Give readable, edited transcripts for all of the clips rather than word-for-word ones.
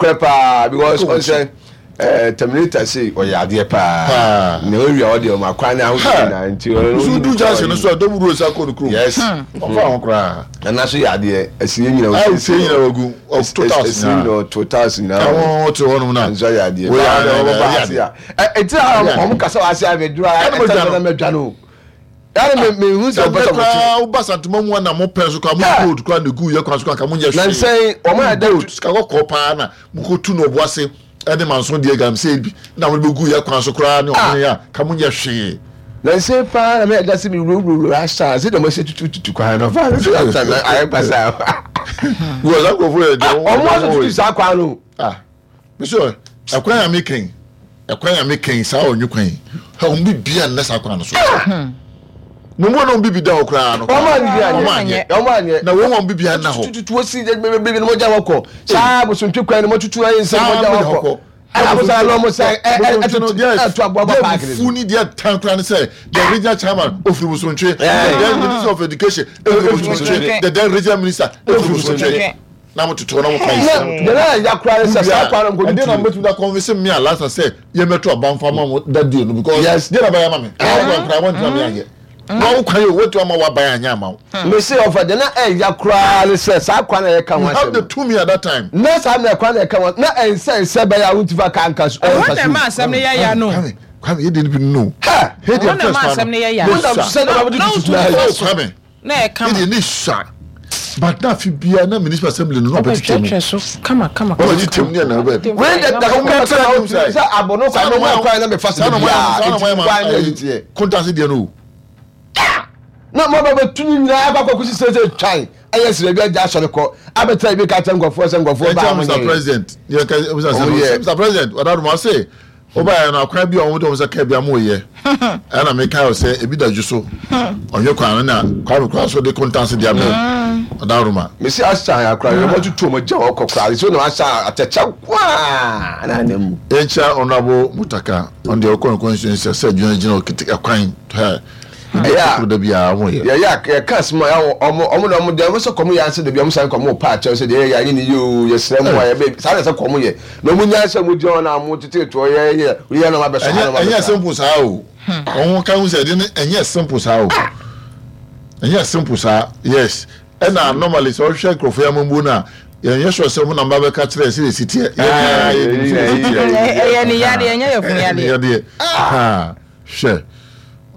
Korɛ paa because ɔn sɛ eh, terminator sei ɔyɛ adeɛ paa na ɔwia ɔdeɛ ɔma kwan ne ahosuo nyinaa nti ɔno du junction no so a dɔm wuro sa kɔ no kurom. Yes, ɔfa ho koraa. Nana so yɛ adeɛ ɛsi nyina o ɛsi nyina ogu total ɛsi nyina total nyina ɛwɔn te hɔ nom na nso yɛ adeɛ baa na ɔbɛba ase a ɛti a ɔmo kasa wɔ ase a mɛ duro a ɛtɛ sɛ na mɛ dwa no. Yàrá mi mi hu sɛ ɔbɛsɛ mo ti. Woba Santuma mu na mo pɛn so kora mo gold kora na egu yɛ kwan so kora nka mo nyɛ hwee. Nansɛn wɔn ayɛ dɛ. Gold sika kɔkɔɔ paa na mo kɔ tu na ɔbo ase ɛne manso deɛ galamsey bi na mo de bɛ gu yɛ kwan so koraa ne ɔhene a ka mo nyɛ hwee. Nansɛn paa na mi ɛda sɛ mi wurawura asa sɛ dɛm ɛsɛ tutu tutu kwan no fa sɛ asa na ayɛ basa. Wɔ saa nkurɔfoɔ yɛ deɛ wɔn asɛ tutu saa kwan no. Ah. Mesɛ ɛkwan a meka yi, ɛkwan a meka yi, saa ɔnwe kwan yi, hɛ wɔn bi bia nnɛ saa kwan no so. Ah! Na wɔn a wɔn bibi da hɔ koraa no, wɔn anyɛ, wɔn anyɛ, na wɔn wɔn bibi anna hɔ. Tututu osi bebrebe no mogya hɔ kɔ. Saa bosontwe kwan no mo tutu ayɛ nsɛm mogya hɔ kɔ. Ɛna bosan na wɔn san ɛ ɛ ɛtutu ɛtu aboa ba paaki ne so. Fu ni deɛ tan koraa ne sɛ the regional chairman ofiri bosontwe, the then minister of education ofiri bosontwe, the then regional minister ofiri bosontwe. Na mo tete hɔ na mo ka yi sɛ. Na deɛ na ya koraa ne sɛ saa kwan no nkɔdu tu. Ɛdeɛ na mo bɛtumi da convince me a last sɛ yɛ mɛto aba nfa ma mo that day no because yes deɛ na bɛyɛ ama me wɔn kwan koraa wɔn ntoma mi anyɛ wɔn wo kwan yi o wɔn ama wɔaban anyɛ ama wo. Me se ɔfa deɛ na ɛya koraa ne sɛ saa kwan na yɛka ho asɛm. You have the tumi at that time. Na saa mmerɛ kwan na yɛka ho na ɛnsɛ nsɛ bɛyɛ a wonti fa kaa nka so. Ɛhɔ na ɛma asɛm no yɛ ya no. Kwame Kwame yɛ deɛ no bi no. Ɛhɔ na ɛma asɛm no yɛ ya. Na wotu so. Kwame. Na ɛyɛ kama. Ne deɛ ne sua but na afe biara na municipal assembly no na ɔbɛkyekyɛ mu. Ɔbɛtwerɛtwerɛ so kama kama kama. Ɔbɛkyekyɛ mu ne ɛna ɔbɛ. Wei de da kama kama otumi sɛ abono kwan no mu kwan na mefa so biara eti kwan na ɛyi teɛ. Kontase deɛ no o. Na mo bɛ bɛ tumi nyinaa akɔ akɔ kusi sɛ sɛ twan ɛyɛ srɛ bi agya asɔre kɔ abɛtena ebi ka kyɛ nkɔfoɔ sɛ nkɔfoɔ baa mo nyɛ. Mr President yɛ ka Mr President ɔdadoma ɔse. Wobaeɛ no akwan bi a wɔde wɔn nsa kaa bi a moyɛ ɛna mekae wo sɛ ebi da dwo so ɔnwe kwan no na Kwame koraa so de kontanse de abrɛ Ɔdaworoma. Mese asan akora yɛ wɔn tutu wɔn gya wɔn kɔ koraa so na asan atɛkyɛ kwaa na anam mu. Yɛnkyia Honourable Mutaka ɔno deɛ ɔkɔ ne constituency sɛ adwuma gyina ɔkete ɛkwan hɛ Ɛyɛ a ɛkoro da biara wɔn yɛ. Yɛyɛ a yɛka asɛm a ɔmo ɔmo na ɔmo deɛ ɔmo sɛ kɔm yɛ ansa dabi ɔmo san kɔm pa akyɛw sɛ deɛ yɛyɛ anyɛ ne yie oo yɛsrɛ mo a yɛbɛ saa na ɛsɛ kɔm yɛ na ɔmo nyaa sɛ ɔmo gyina hɔ na ɔmo tete toɔ yɛ yɛ yɛ na ɔmo abɛsɔ ha na ɔmo Ɛnyɛ abɛsɔ ha. simple saa o ɔmo ka ho sɛ ɛde no ɛnyɛ simple saa o ɛnyɛ simple saa yes ɛna normally sɛ ɔhwɛ nkurɔfoɔ yi amambuo no a yɛnyɛ sure sɛ ɔmo na mba bɛka kyerɛ sɛ esi teɛ yɛn nyinaa yɛnim sɛ esi teɛ Ɛyɛ ne yadeɛ ɛnyɛ yafunu ɛyɛ ne yadeɛ. yadeɛ ha. Hwɛ,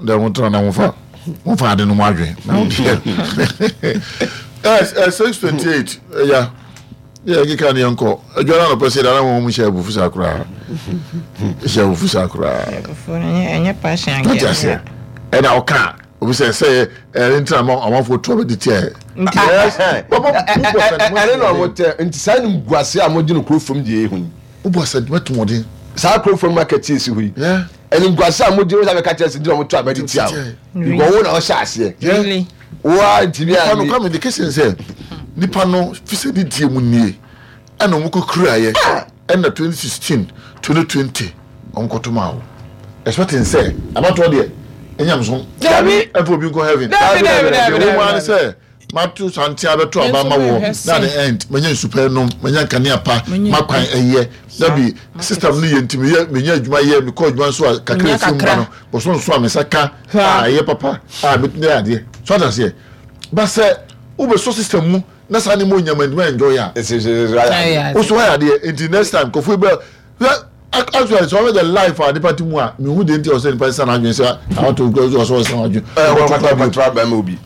dɛ mo tena na mo fa mo fa ade no mo adwen na mo deɛ. Ɛ 6:28 ɛya yɛ keka ne yɛn kɔ adwa no anɔpɛ sɛ dara wɔn hyɛ abufu saa koraa hyɛ abufu saa koraa. Ɛnyɛ passion ankɛ. Ɔte aseɛ ɛna ɔka obi sɛ sɛ ɛne ntina ma amanfoɔ tu abɛdi tiɛ. Ɛne na ɔmo tɛ nti saa nim guase a mo gye no kuro fam deɛ ehu yi. Wobɔ asɛntuma tumɔden. Saa kuro fam market yi si hɔ yi. Animguase a modi wo sɛ bɛka kyerɛ sɛ nti na wɔto aba de tia wo because wo na ɔhyɛ aseɛ. Really? Wo a ntumi Nipa no anni. Kwame de kese sɛ nipa no fisɛ ne die mu nie ɛna wɔn kɔ kuraeɛ ɛna 2016 2020 wɔn kɔto maa wo expecting sɛ abatoɔ deɛ ɛnyamsom Dabi. ɛmfa obi nkɔ heaven. Dabi dabi dabi Deɛ wɔn dabi ara ne dabi. sɛ Mato santen abɛto aba ama wɔ na the end manya nsu pa nom manya nkanea pa makwan ɛyɛ dabi system no yɛ nti meyɛ menya adwuma yɛ mekɔ adwuma nso a kakra efiri mu ba no bɔsɔ nso a me nsa ka a ɛyɛ papa a metumi ayɛ adeɛ so ate aseɛ ba sɛ wobɛsɔ system mu na saa ne mu onyama ntumi enjoy a woso ayɛ adeɛ nti next time kɔfo bɛ Actually sɛ ɔhwɛ the life a nipa te mu a mehu deɛ nti a ɔsɛ nipa sesa n'adwene sɛ awato nkura so ɔsɛ ɔsesa n'adwene. Ɛɛ wɔn kɔtɔ kɔtɔ abɛn mu obi.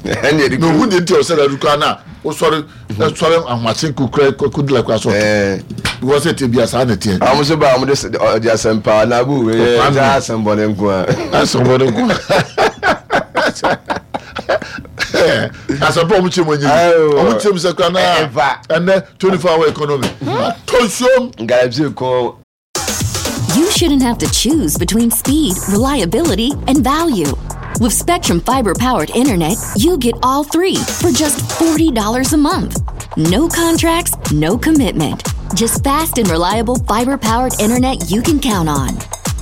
Ɛnni ɛdi kuro. Mehu deɛ nti a ɔsɛ dadu koraa na wosɔre sɔre ahomakye kura kodi la kura so ɔtɔ. Because ɛte bi a saa na ɛteɛ. Wɔn nso ba wɔn de ɔde asɛmpa na abu wei yɛ ɛsɛ asɛmbɔne nko a. Asɛmbɔne nko a. Asɛmpa wɔn kyerɛ mu anyi wɔn kyerɛ mu sɛ kura na ɛnɛ 24 hour economy. Atɔ nsuom. Galamsey ko. You shouldn't have to choose between speed, reliability, and value. With Spectrum Fiber powered internet, you get all three for just $40 a month. No contracts, no commitment. Just fast and reliable fiber powered internet you can count on.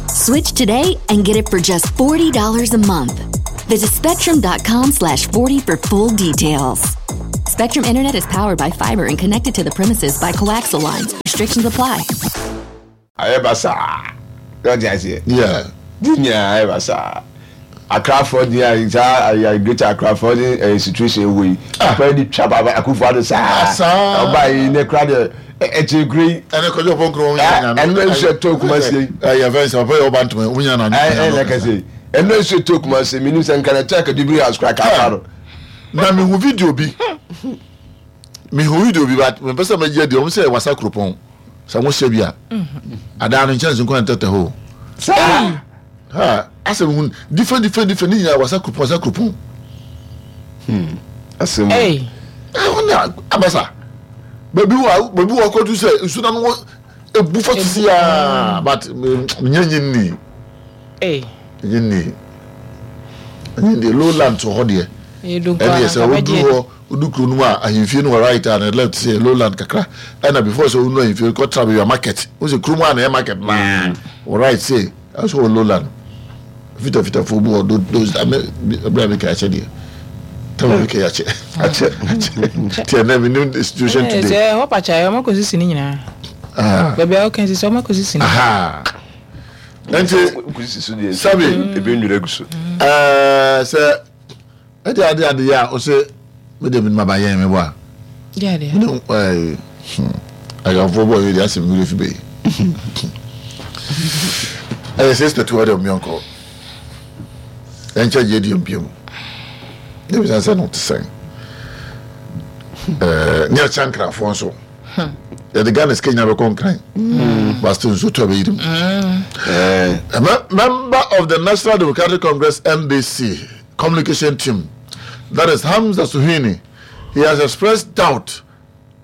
Switch today and get it for just $40 a month. Visit spectrum.com slash 40 for full details. Spectrum Internet is powered by fiber and connected to the premises by coaxial lines. Restrictions apply. Ayɛ basaa. Sɛ ɔte aseɛ. Yeah. Di nyinaa ayɛ basaa. Akrafoɔ di a saa ayɛ Greater Akrafoɔ de ɛyɛ situation ɛwɔ yi. Ah. Akora di twa baba Akufo Addo saa. Ah, saa. Ɔbaa yi ne kora deɛ ɛkyɛ kure yi. Ɛne kɔjɔ pɔn kuro wɔn nyinaa. Ɛno nso ɛtɔ Kumasi yi. Ɛyɛ fɛn sɛ ɔpɛ yɛ ɔba ntoma wɔn nyinaa na. Ɛɛ ɛna kɛse yi. Ɛno nso ɛtɔ Kumasi mi nim sɛ nkana ɛtɔ akadubiri house kora kaa no. Na mi hu video bi. Mi hu video bi but mi pɛ sɛ mɛ gye di wɔn sɛ wasa kuropɔn. Sɛ mo hyɛ bi a adaa no nkyɛnse nkwa ntɛtɛ hɔ. Saa. Ha asɛm hu different different different ne nyinaa wasa kuropɔn wasa kuropɔn. Hmm. Asɛm. Hey. Ɛhɔ na abasa. Baabi wɔ baabi wɔ akɔdu sɛ nsu na no ebu fa sisi aa but nyɛ nye nni. Hey. Nye nni. Nye nni lowland to hɔ deɛ. Ɛdeɛ sɛ woduru hɔ. Wodu kuro no mu a ahemfie no wɔ right a na left sɛ lowland kakra ɛna before sɛ wonu ahemfie no kɔtra baabi a market wohu sɛ kuro mu a na ɛyɛ market naa wɔ right sɛ ɛso wɔ lowland fitafitafoɔ bi wɔ those ame ɛberɛ a meka akyɛ deɛ tama meka yɛ akyɛ akyɛ nti ɛnɛ menim the situation today sɛ hɔ pakya yɛ ɔma kɔsisi ne nyinaa baabi a woka sisi ɔma kɔsisi ne nti sabi ebi nwura gu so sɛ Ɛde ade ade yɛ a ɔsɛ me de me ba yɛn me bɔ a. Deɛ Me ɛɛ hmm aganfoɔ bɔ yɛ de asɛm wura fi bɛyi. Ɛyɛ sɛ sɛ tuwa de ɔmo yɔnkɔ. Ɛnkyɛ gye di mpie mu. Ne bisa sɛ no te sɛn. Ɛɛ ne akyɛ nkrafoɔ nso. Yɛde Ghana sika nyinaa bɛkɔ nkran. But still nsuo tɔ bɛyiri mu. Member of the National Democratic Congress NDC communication team, that is Hamza Suhini, he has expressed doubt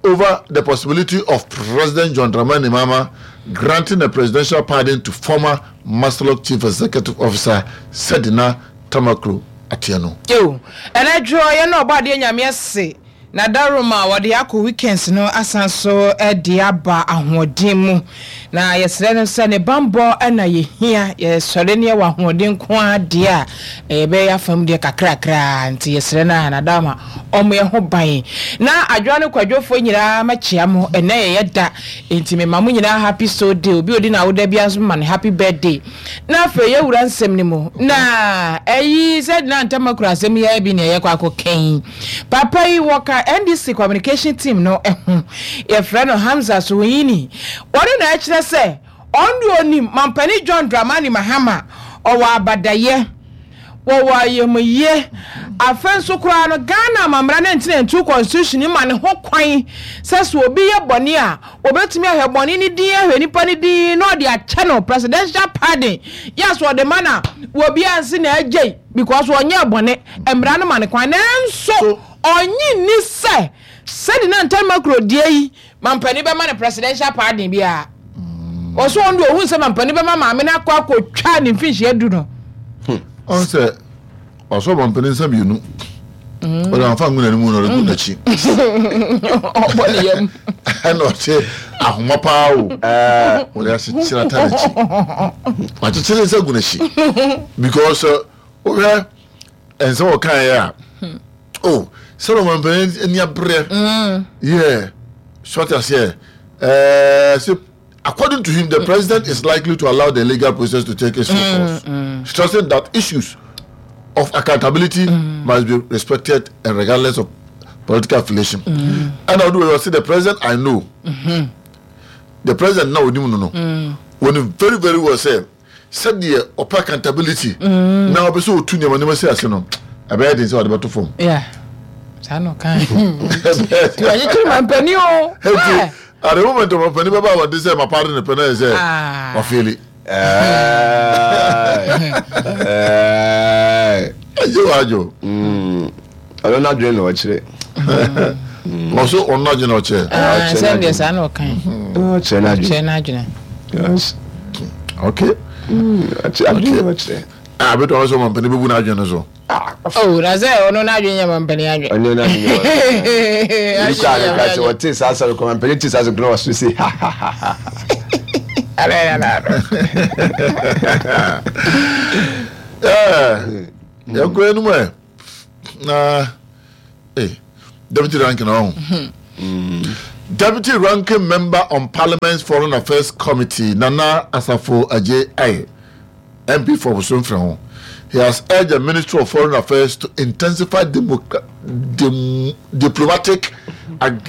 over the possibility of President John Dramani Mahama granting a presidential pardon to former Maslok Chief Executive Officer Sedina Tamaklo Atieno. Ew, ɛnɛ dwoɔ yɛn na ɔbɔ adeɛ Nyame ase Na dawuroma a wɔde akɔ weekends no asan so de aba ahoɔden mu. Na yɛsrɛ no sɛ ne bammɔ na yɛhia. Yɛsɔre na yɛwɔ ahoɔden nko ara deɛ a, yɛbɛyɛ yɛn afa mu deɛ kakrakra. Nti yɛsrɛ no a, na dawuroma ɔmmɔ yɛn ho ban. Na Adwoa ne Kwadwofoɔ nyinaa mɛkyea mo. Ɛnnɛ yɛ yɛ da, nti mema mo nyinaa happy soul day. Obi a ɔdi n'awoda biara nso mema no happy birthday. Na afei yɛwura nsɛm no mu. Na ɛyi sɛ na ntam akura asɛm yi ara bi na yɛkɔ akɔka yi. Papa yi wɔka NDC communication team no ho. Yɛfrɛ no Hamza Suhuyini. Ɔno na ɛkyerɛ sɛ ɔno deɛ ɔnim Mampanin John Dramani Mahama, ɔwɔ abadayɛ, wɔwɔ ayamyie. Afei nso koraa no Ghana amammara 1992 constitution ma ne ho kwan sɛ sɛ obi yɛ bɔne a wɔbɛtumi ahwɛ bɔne no din ahwɛ nipa no din na ɔde akyɛ no presidential pardon. Yes, ɔde ma na obiara nse na agyei because ɔnyɛɛ bɔne. Mmara no ma no kwan, nanso ɔnnye nni sɛ sɛde na Ntan Makuro deɛ yi mampanin bɛma no presidential pardon biara. Ɔsɛ ɔno deɛ ɔhu sɛ mampanin bɛma maame no akɔ akɔtwa ne mfinhyia du no. Ɔn sɛ ɔsɔ mampanin nsa mmienu. Ɔde amfa ngu n'anim na ɔde gu n'akyi. Ɔbɔ ne yam. Ɛna ɔte ahoma paa o. Ɔde akyekyere ata n'akyi. Wakyekyere nsa gu n'akyi because wohwɛ nsɛm a ɔkaeɛ a oh sɛdeɛ ɔmampanin ani aberɛ yeah so ate aseɛ ɛɛ sɛ according to him the president is likely to allow the legal process to take its full course stressing that issues of accountability must be respected and regardless of political affiliation ɛna ɔde wɔ sɛ the president I know the president na onim no no wɔnim very very well sɛ sɛdeɛ ɔpɛ accountability mm. na ɔpɛ sɛ ɔtu nneɛma nneɛma si ase no ɛbɛyɛ den sɛ ɔde bɛto fam. saa na ɔka wakyekyere mampani o. Eti at the moment ɔmampani bɛba abɔnten sɛ mapa de ne pɛ na yɛ sɛ ah. wafeeli. Ɛyɛ wadwo. Ɔno n'adwene na ɔkyerɛ. Ɔso ɔno n'adwene na ɔkyerɛ. Ah, sɛ deɛ saa na ɔka yi. Ɔkyerɛ n'adwene. Ɔkyerɛ n'adwene. Yes. Okay. Ɔkyerɛ adwene na ɔkyerɛ. Ah, bɛtɔ ɔsɛ ɔmampanin bɛbu n'adwene no so. Oh, na sɛ ɔno n'adwene nyɛ mampanin adwene. Ɔno n'adwene nyɛ mampanin. Ebi kɔ a ne ka sɛ ɔte saa asɛm kɔ mampanin te saa asɛm kɔ na ɔso se ha ha ha ha. Yɛnkɔ anim ɛ. Na eh. Deputy ranking ɔho. Deputy ranking member on Parliament's Foreign Affairs Committee Nana Asafo Adjei-Aye, MP for Bosomfrɛho, he has urged the Ministry of Foreign Affairs to intensify dem diplomatic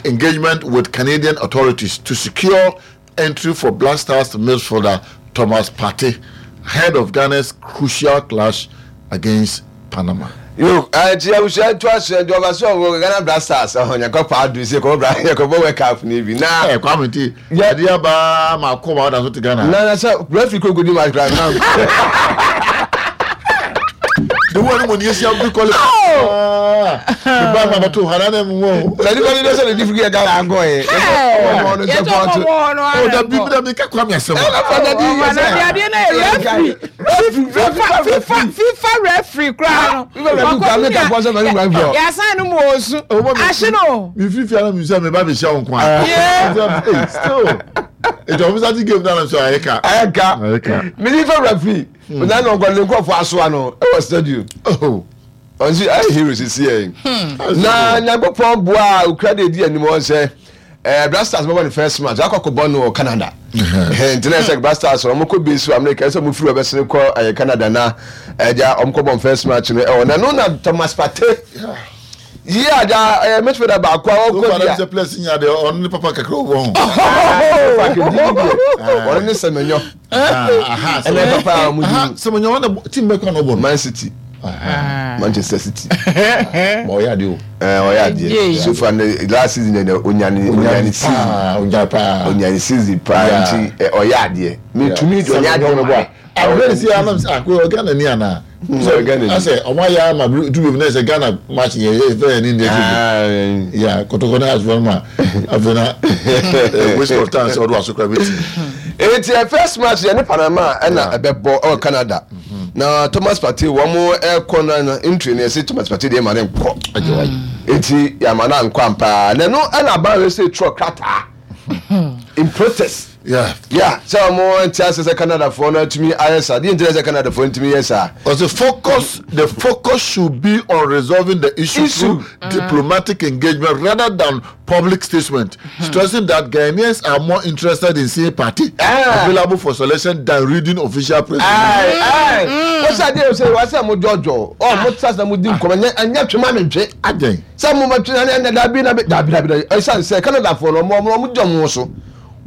engagement with Canadian authorities to secure entry for Black Stars midfielder Thomas Partey ahead of Ghana's crucial clash against Panama. Yo, nti abusua nto aso nti ɔba so ɔwɔ Ghana Black Stars ɔhɔ nyakɔ pa adu sɛ kɔbɔ bra yɛkɔbɔ World Cup ni bi na. Ɛ Kwame nti yɛde aba ma akɔ ma ɔda so te Ghana. Na na sɛ referee kɔ kodi match kora na. The one mo ni esi abu kɔle. Me ba ma bato hana na mu wo. Na ni ba ni sɛ ne di firi Ghana ankɔ yɛ. Yɛ tɔ kɔ bɔ no ara. O da bi da bi ka Kwame asɛm. Ɛna fa da bi yɛ sɛ. Na adeɛ na yɛ referee. FIFA FIFA FIFA referee koraa no. FIFA referee koraa mi ka fɔ sɛ mɛ ni referee. Yasan no mu osu. Ahye no. Mi firi fia na mi sɛ mi ba bi hyɛ wo nko a. Yeah. Still. Ètò ọ̀fíìsì àti game náà sọ ayé ka. Ayé ka. Ayé ka. Mi ní fẹ́ referee. Ɔnà na ɔkɔ ne nkurɔfoɔ asoa no ɛwɔ stadium. Ɔnsi ayɛ hero sisi yɛ. Na Nyankopɔn boa a okura de edi anim wɔn sɛ ɛɛ Black Stars bɛbɔ ne first match akɔ akɔbɔ no wɔ Canada. Nti na ɛsɛ Black Stars wɔn kɔ base wɔ America ɛsɛ wɔn firi wɔbɛsene kɔ ɛyɛ Canada na ɛgya wɔn kɔ bɔ first match no ɛwɔ na no na Thomas Partey. Yi a da ɛyɛ midfielder baako a ɔkɔ bi a. Sɛ players nya deɛ ɔno ne papa kakra wɔ ho. Ɔno ne Semenyo. Ɛnɛ papa a wɔn di. Semenyo wɔn na team bɛ kɔ na ɔbɔ no. Man City. Manchester City. Ma ɔyɛ adeɛ o. Ɛɛ ɔyɛ adeɛ. So far ne last season yɛ onyane onyane season. Onyane paa. Onyane season paa nti ɔyɛ adeɛ. Metumi ɔnyɛ adeɛ ma yɛ. Abirɛ si anam sɛ akɔ Ghana ni ana. Sɛ ɔmo ayɛ ama du bi na sɛ Ghana match yɛ yɛ fɛ yɛ ni ndé fi ya kɔtɔkɔ na asofo ma afei na waste of time sɛ ɔdo aso kura bi ti. Eti ɛ first match yɛ ne Panama ɛna ɛbɛbɔ ɛwɔ Canada na Thomas Partey wɔn ɛkɔ na na entry no yɛsi Thomas Partey deɛ ɛma ne nkɔ eti yɛama no ankɔ ampaa na ɛno ɛna aban wei sɛ trɔ krataa in protest. Yeah. Yeah, sɛ wɔn nte ase sɛ Canadafoɔ no atumi ayɛ saa. Deɛ nti na sɛ Canadafoɔ ntumi yɛ saa. Ɔsɛ focus the focus should be on resolving the issue, issue. through mm. diplomatic engagement rather than public statement, mm. stressing that Ghanaians are more interested in seeing Partey ah. available for selection than reading official press release. Wọ́n sá adé ṣe wá sẹ́ mo jọjọ ọ mo sá sẹ́ mo di nkɔmɔ ẹ̀nyẹ́ twema mi ntwe. Adẹ́n. Sẹ́ mo ma twe ẹ̀nyẹ́ dabi dabi dabi dabi ẹ̀sán sẹ́ Canadafoɔ no ọmọ ọmọ jọ mo so.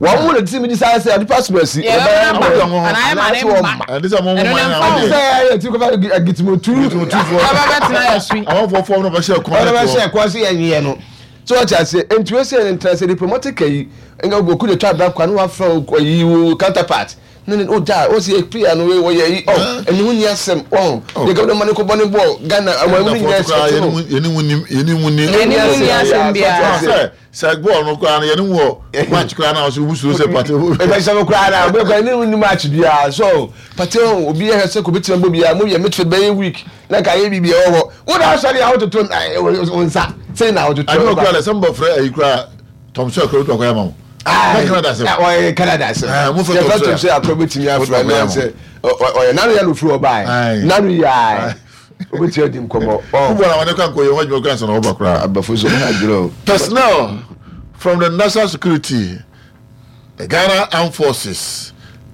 Wɔn mu na ti mi di saa sɛ nipa soma si. Yɛ bɛ ba anaa yɛ ma ne mma. Ɛdi sɛ mo mo ma yɛn awɔ. Sɛ yɛ ti kɔfɛ gitimotu. Gitimotu fo. Ɛbɛ bɛ tena yɛ sui. Àwọn fɔ fɔm na bɛ hyɛ kɔn. Ɔna bɛ hyɛ kɔn si yɛ nyɛ no. So wɔte ase nti wɔ sɛ ntina sɛ diplomatic ayi nka oku de twa abira kwa no wafrɛ ɔyi wo counterpart ne ne o gya o si prayer no wɔ yɛ yi ɔ ɛni ho ni asɛm ɔn yɛ gabɔ ma ne ko bɔ ne bɔ Ghana ɛwɔ ɛmu nyinaa ɛsɛ no. Yɛni mu ni yɛni mu ni. Yɛni mu ni asɛm biara. Sɛ bɔɔl no koraa no yɛne wɔ match koraa na ɔsɛ wusuro sɛ Partey. Ɛbɛhyɛ mo koraa na ɔbɛ kora ne ni match biara so Partey ho obi yɛ sɛ kò bɛtumi abɔ biara mo yɛ midfield bɛyɛ weak na nka yɛ biribi ɛwɔ hɔ wo na asɔre a wototo wo nsa sɛn na wototo. Ade wɔ koraa dɛ sɛ mbɔ frɛ ayi koraa Tom Sawyer koraa wotumi akɔyɛ ama wo. Na Canada asɛm. Ɔyɛ Canada asɛm. Mo fɛ Tom Sawyer koraa bɛtumi afrɛ na sɛ ɔyɛ nanu yɛ no firi ɔbaa nanu yɛ ayi. Wobɛtumi adi nkɔmmɔ. Football a wɔde kɔ ankɔ yɛ ho adwuma koraa ansa na wɔba koraa. Abafo nso wɔn adwene o. Personnel from the National Security, the Ghana Armed Forces,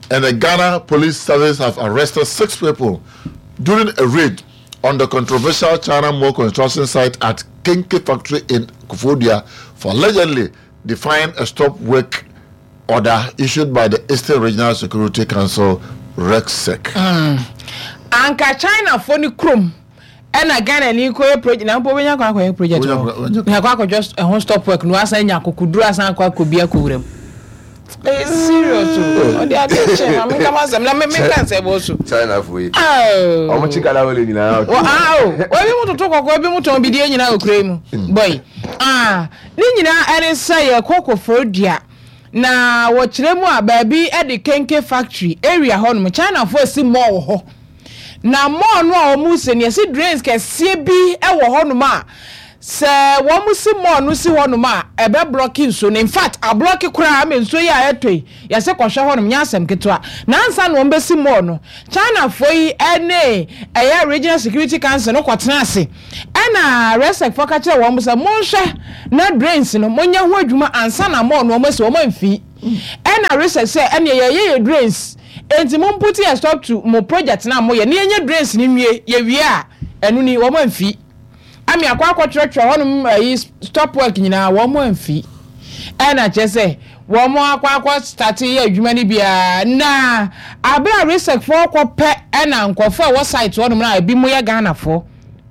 and the Ghana Police Service have arrested six people during a raid on the controversial China Mall construction site at Kenke Factory in Koforidua for allegedly defying a stop work order issued by the Eastern Regional Security Council, REGSEC. Mm. Anka China fo ne kurom ɛna Ghana ni kɔyɛ project na mpo wobɛnya kwan akɔyɛ project wɔ na akɔ akɔdwa ɛho stop work no asan anya akokoduro asan akɔ akɔ bi akɔwura mu. Ɛyɛ serious o. Ɔde adeɛ kyɛ ma menka ma asɛm na me menka nsɛ bɔ so. China fo yi. Ɔmo kyi Ghana wele nyinaa. Wɔ ah o. Ebi mu toto kɔkɔɔ ebi mu tɔn bidie nyinaa wɔ kuro yi mu. Boy. Ah. Ne nyinaa ɛne sɛ yɛkɔ Koforidua na wɔkyerɛ mu a baabi de Kenke factory area hɔ nom Chinafoɔ asi mall wɔ hɔ na mall no a wɔn si no yɛsi drains kɛseɛ bi wɔ hɔ nom a sɛ wɔn si mall no si hɔ nom a ɛbɛ blɔki nsuo no in fact ablɔki koraa ama nsuo yi a ɛtɔ yi yɛsi kɔhwɛ hɔ nom nyɛ asɛm ketewa na ansa na wɔn bɛsi mall no Chinafoɔ yi ɛne ɛyɛ Regional Security Council no kɔtena ase. Ɛna Resec foɔ ka kyerɛɛ wɔn sɛ, Monhwɛ na drains no monyɛ ho adwuma ansa na mall no wɔn asi, wɔn amfi. Ɛna Resec sɛ, Ɛneɛ yɛreyɛ yɛ drains, enti mo put a stop to mo project no a moyɛ na yɛnyɛ drains no nwie, yɛwie a, ɛno ni, wɔn amfi. Ame akɔ akɔtwerɛtwerɛ hɔnom ayi stop work nyinaa wɔn amfi. Ɛna kyerɛ sɛ wɔn akɔ akɔ start yɛ adwuma no biara na abere a Resec foɔ kɔ pɛ ɛna nkurɔfoɔ a ɛwɔ site hɔnom no a ebi mo yɛ Ghanafoɔ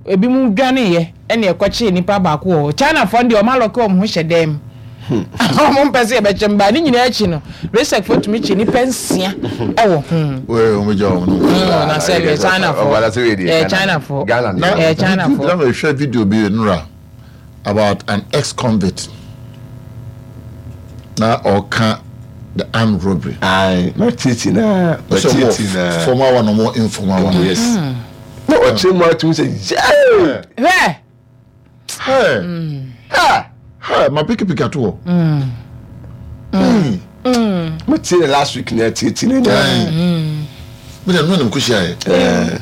ebi mo dwaneeɛ ɛna ɛkɔkyee nipa baako wɔ hɔ. Chinafoɔ no deɛ wɔn alɔke wɔn ho hyɛ dan mu. Wɔn mpɛ sɛ yɛbɛkyɛ mbaa ne nyinaa akyi no Resec foɔ tumi kye nipa nsia ɛwɔ ho. Wei wɔn gya wɔn no. Na sɛ yɛ China foɔ yɛ China foɔ yɛ China foɔ. Na mehwɛ video bi nura about an ex-convict na ɔka the armed robbery. Ayi ma titi na ma titi na. Formal one ɔmo informal one. Yes. Na ɔkyerɛ mu atum sɛ yee. Hwɛ. Hey. Ha. Hey, ma piki piki ato hɔ. Mo tie ne last week na tie tie ne na. Mi na nua na mo hyia yɛ.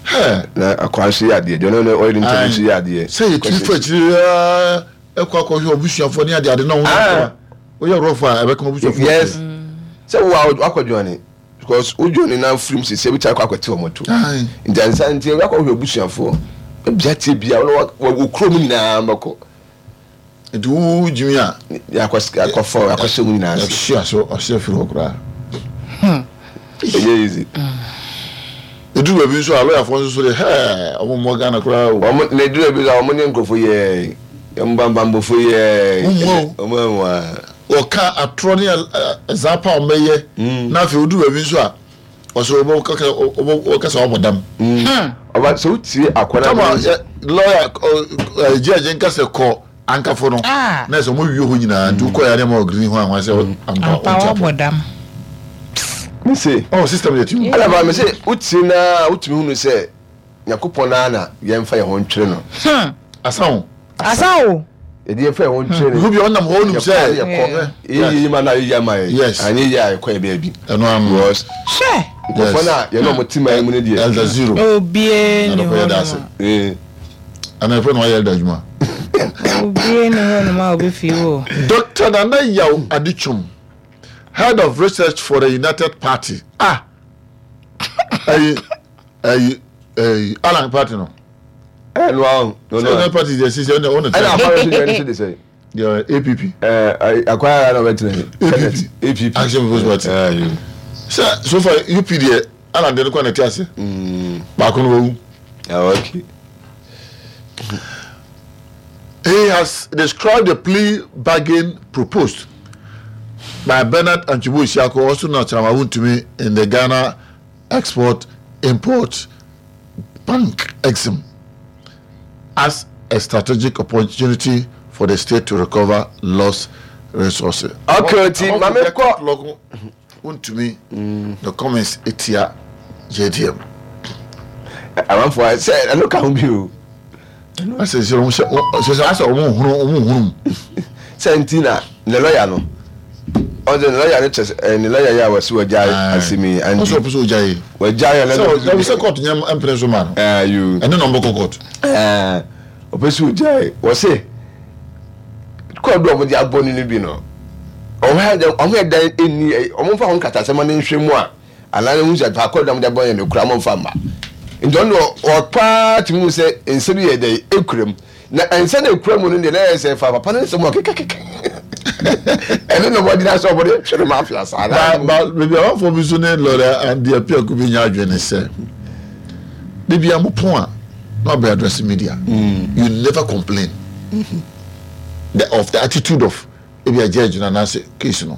Hey. Na akwa nso yɛ adeɛ deɛ ɔno ɔyɛ ne ntɛm nso yɛ adeɛ. Sɛ yɛ tiri fo akyiri ɛkɔ akɔhwɛ ɔbusuafoɔ ne ade ade na ɔho na ɔyɛ rɔfo a ɛbɛka ɔbusuafoɔ. Yes. Sɛ wo a wakɔ join Because wo dwo ne nan firim sisi ebi taa kɔ akɔte wɔn to. Nti ansa nti ebi akɔhwɛ abusuafoɔ. Ebi atie bia wɔn wɔ wɔ kurom nyinaa bɛkɔ. Nti wo gyimi a. Akɔ akɔfɔ akɔhyɛ mu nyinaa ase. Ɛhyɛ ase ɔhyɛ firi hɔ koraa. Ɛnyɛ easy. Eduru baabi nso a lɔyafoɔ nso so de hɛɛ wɔn mmɔ Ghana koraa o. Wɔn na eduru baabi nso a wɔn ne nkurɔfoɔ yɛɛ wɔn bambambɔfoɔ yɛɛ. Wɔn mmoa o. Wɔn mmoa. Wɔka atorɔ ne ɛzaa pa a wɔbɛyɛ na afei woduru baabi nso a ɔsɛ wɔbɛka sɛ wabɔ dam. Ɔba sɛ wotie akwadaa Tama lɔya gyɛɛgye nka sɛ kɔ ankafo no na sɛ wɔn wie hɔ nyinaa nti wokɔ yɛ ne ma ɔgreen ho ahoa sɛ ampa wabɔ dam. Me se. Oh system yɛ ti mu. Ɛna ba me se wotie na wotumi hunu sɛ Nyankopɔn ara na yɛmfa yɛn ho ntwere no. Asa o. Asa o. Yɛde yɛmfa yɛn ho ntwere no. Obi a ɔnam hɔ onim sɛ. Yɛkɔ yɛkɔ. Yɛyɛ yie ma no a yɛyɛ ama yɛn. Yes. Anyɛ yie a yɛkɔ yɛ baabi. Ɛno ano. Because. Hwɛ. Nkurɔfoɔ no a yɛne wɔn te man mu no deɛ. Elder zero. Obie ni hɔ nom a. Ana ɛfɛ na wayɛ elder adwuma. Obie ni hɔ nom a obi fi wo. Doctor Nana Yaw Adutwum, Head of Research for the United Party. Ah! Ayi. ɛyi ɛyi alan party no. ɛ no ahun. sɛ ɛna party deɛ sisi ɛna ɔna tẹ. Ɛna akwa nso deɛ ɛno nso de sɛ. Deɛ app. Ɛɛ akwa yɛrɛ na ɔbɛ tena yi. App action people's party. Ɛɛ sɛ so far up deɛ alan deɛ no kɔ na ɛte ase. Baako no wawu. Ah okay. He has described the plea bargain proposed by Bernard Antwi Boasiako, also known as Chairman Wontumi, in the Ghana Export Import Bank, EXIM, as a strategic opportunity for the state to recover lost resources. Okay, nti maame kɔ. Wontumi the comments etia JDM. Amanfoɔ ayɛ sɛ ɛno ka ho bi o. Asɛ sɛ wɔn sɛ sɛ asɛ wɔn nhunu wɔn nhunu mu. Sɛ nti na ne lɔya no ɔsɛ ne lɔya no kyɛ sɛ ne lɔya yi a wɔsi wɔgya asɛm yi andi. Ɔsɛ ɔpɛ sɛ ɔgya yi. Wɔgya yɛ na ɛsɛ sɛ kɔɔto nyɛ mpene so ma no. Ɛne na ɔmbɛkɔ kɔɔto. Ɔpɛ sɛ ɔgya yi wɔsi kɔɔdo a wɔde abɔ no no bi no wɔn yɛ dan ɛni wɔn mfa ho nkatasɛm no nhwɛ mu a. Anaa ne ho sɛ fa kɔ dɔm de bɔ yɛn no kura mo nfa mma. Nti ɔno deɛ ɔpaa tumi hu sɛ nsɛm yi yɛ dɛ ekura mu. Na nsɛm na ekura mu no deɛ na yɛ sɛ fa papa no nsɛm ɔkekakeka. Ɛno na wɔgyina sɛ wɔde twere mafia saa. Ba ba baabi amanfoɔ bi nso ne lɔya Andy Apiaku bi nya adwene ne sɛ de bia mo pon a na wabɛ address media. You never complain the of the attitude of Ebia judge no anaasɛ case no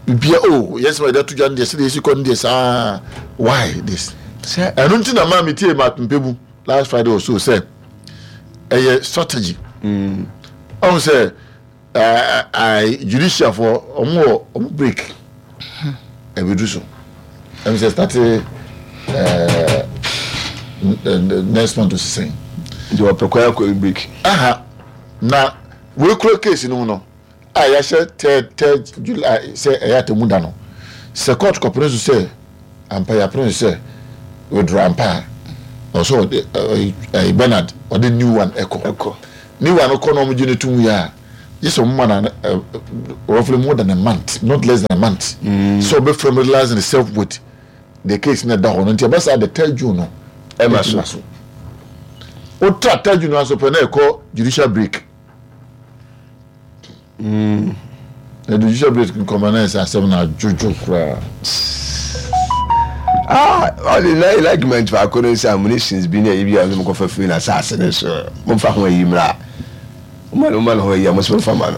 bibia oh yɛn sɛm a yɛde ato dwa no deɛ sɛdeɛ yɛsi kɔ no deɛ saa why this Sɛ ɛno nti na maa metie Mark Mpebu last Friday or so sɛ ɛyɛ strategy ɔhu sɛ judicial foɔ ɔmo wɔ ɔmo break ɛbɛdu so ɛm sɛ start next month osisɛn nti wɔpɛ kwan akɔ break. Aha na Wei kura case no mu no a yɛahyɛ third third July sɛ ɛyɛ atemmu da no, sɛ court kɔpene so sɛ ampa yɛapene so sɛ withdraw ampa a, Ɔsɛ ɔde ɛɛ ɛɛ Bernard ɔde new one ɛkɔ. Ɛkɔ. New one kɔ na wɔn gye ne tum yɛ a, gye sɛ wɔn ma na ɛ roughly more than a month, not less than a month. Mm. So ɔbɛ familiarize himself with the case na ɛda hɔ no nti ɛbɛ saa the third June no. Ɛma so. so. Wotra third June no aso pɛ na ɛkɔ judicial break. Mm. Na judicial break nkɔmɔ na ɛsɛ asɛm na adwodwo koraa. Ah, ɔde na yɛ argument baako no sɛ ammunitions bi ne ayi bi a ɔno mokɔfa firi na asase no so momfa ho ayi mmra moma no moma no ho ayi a mo so momfa ma no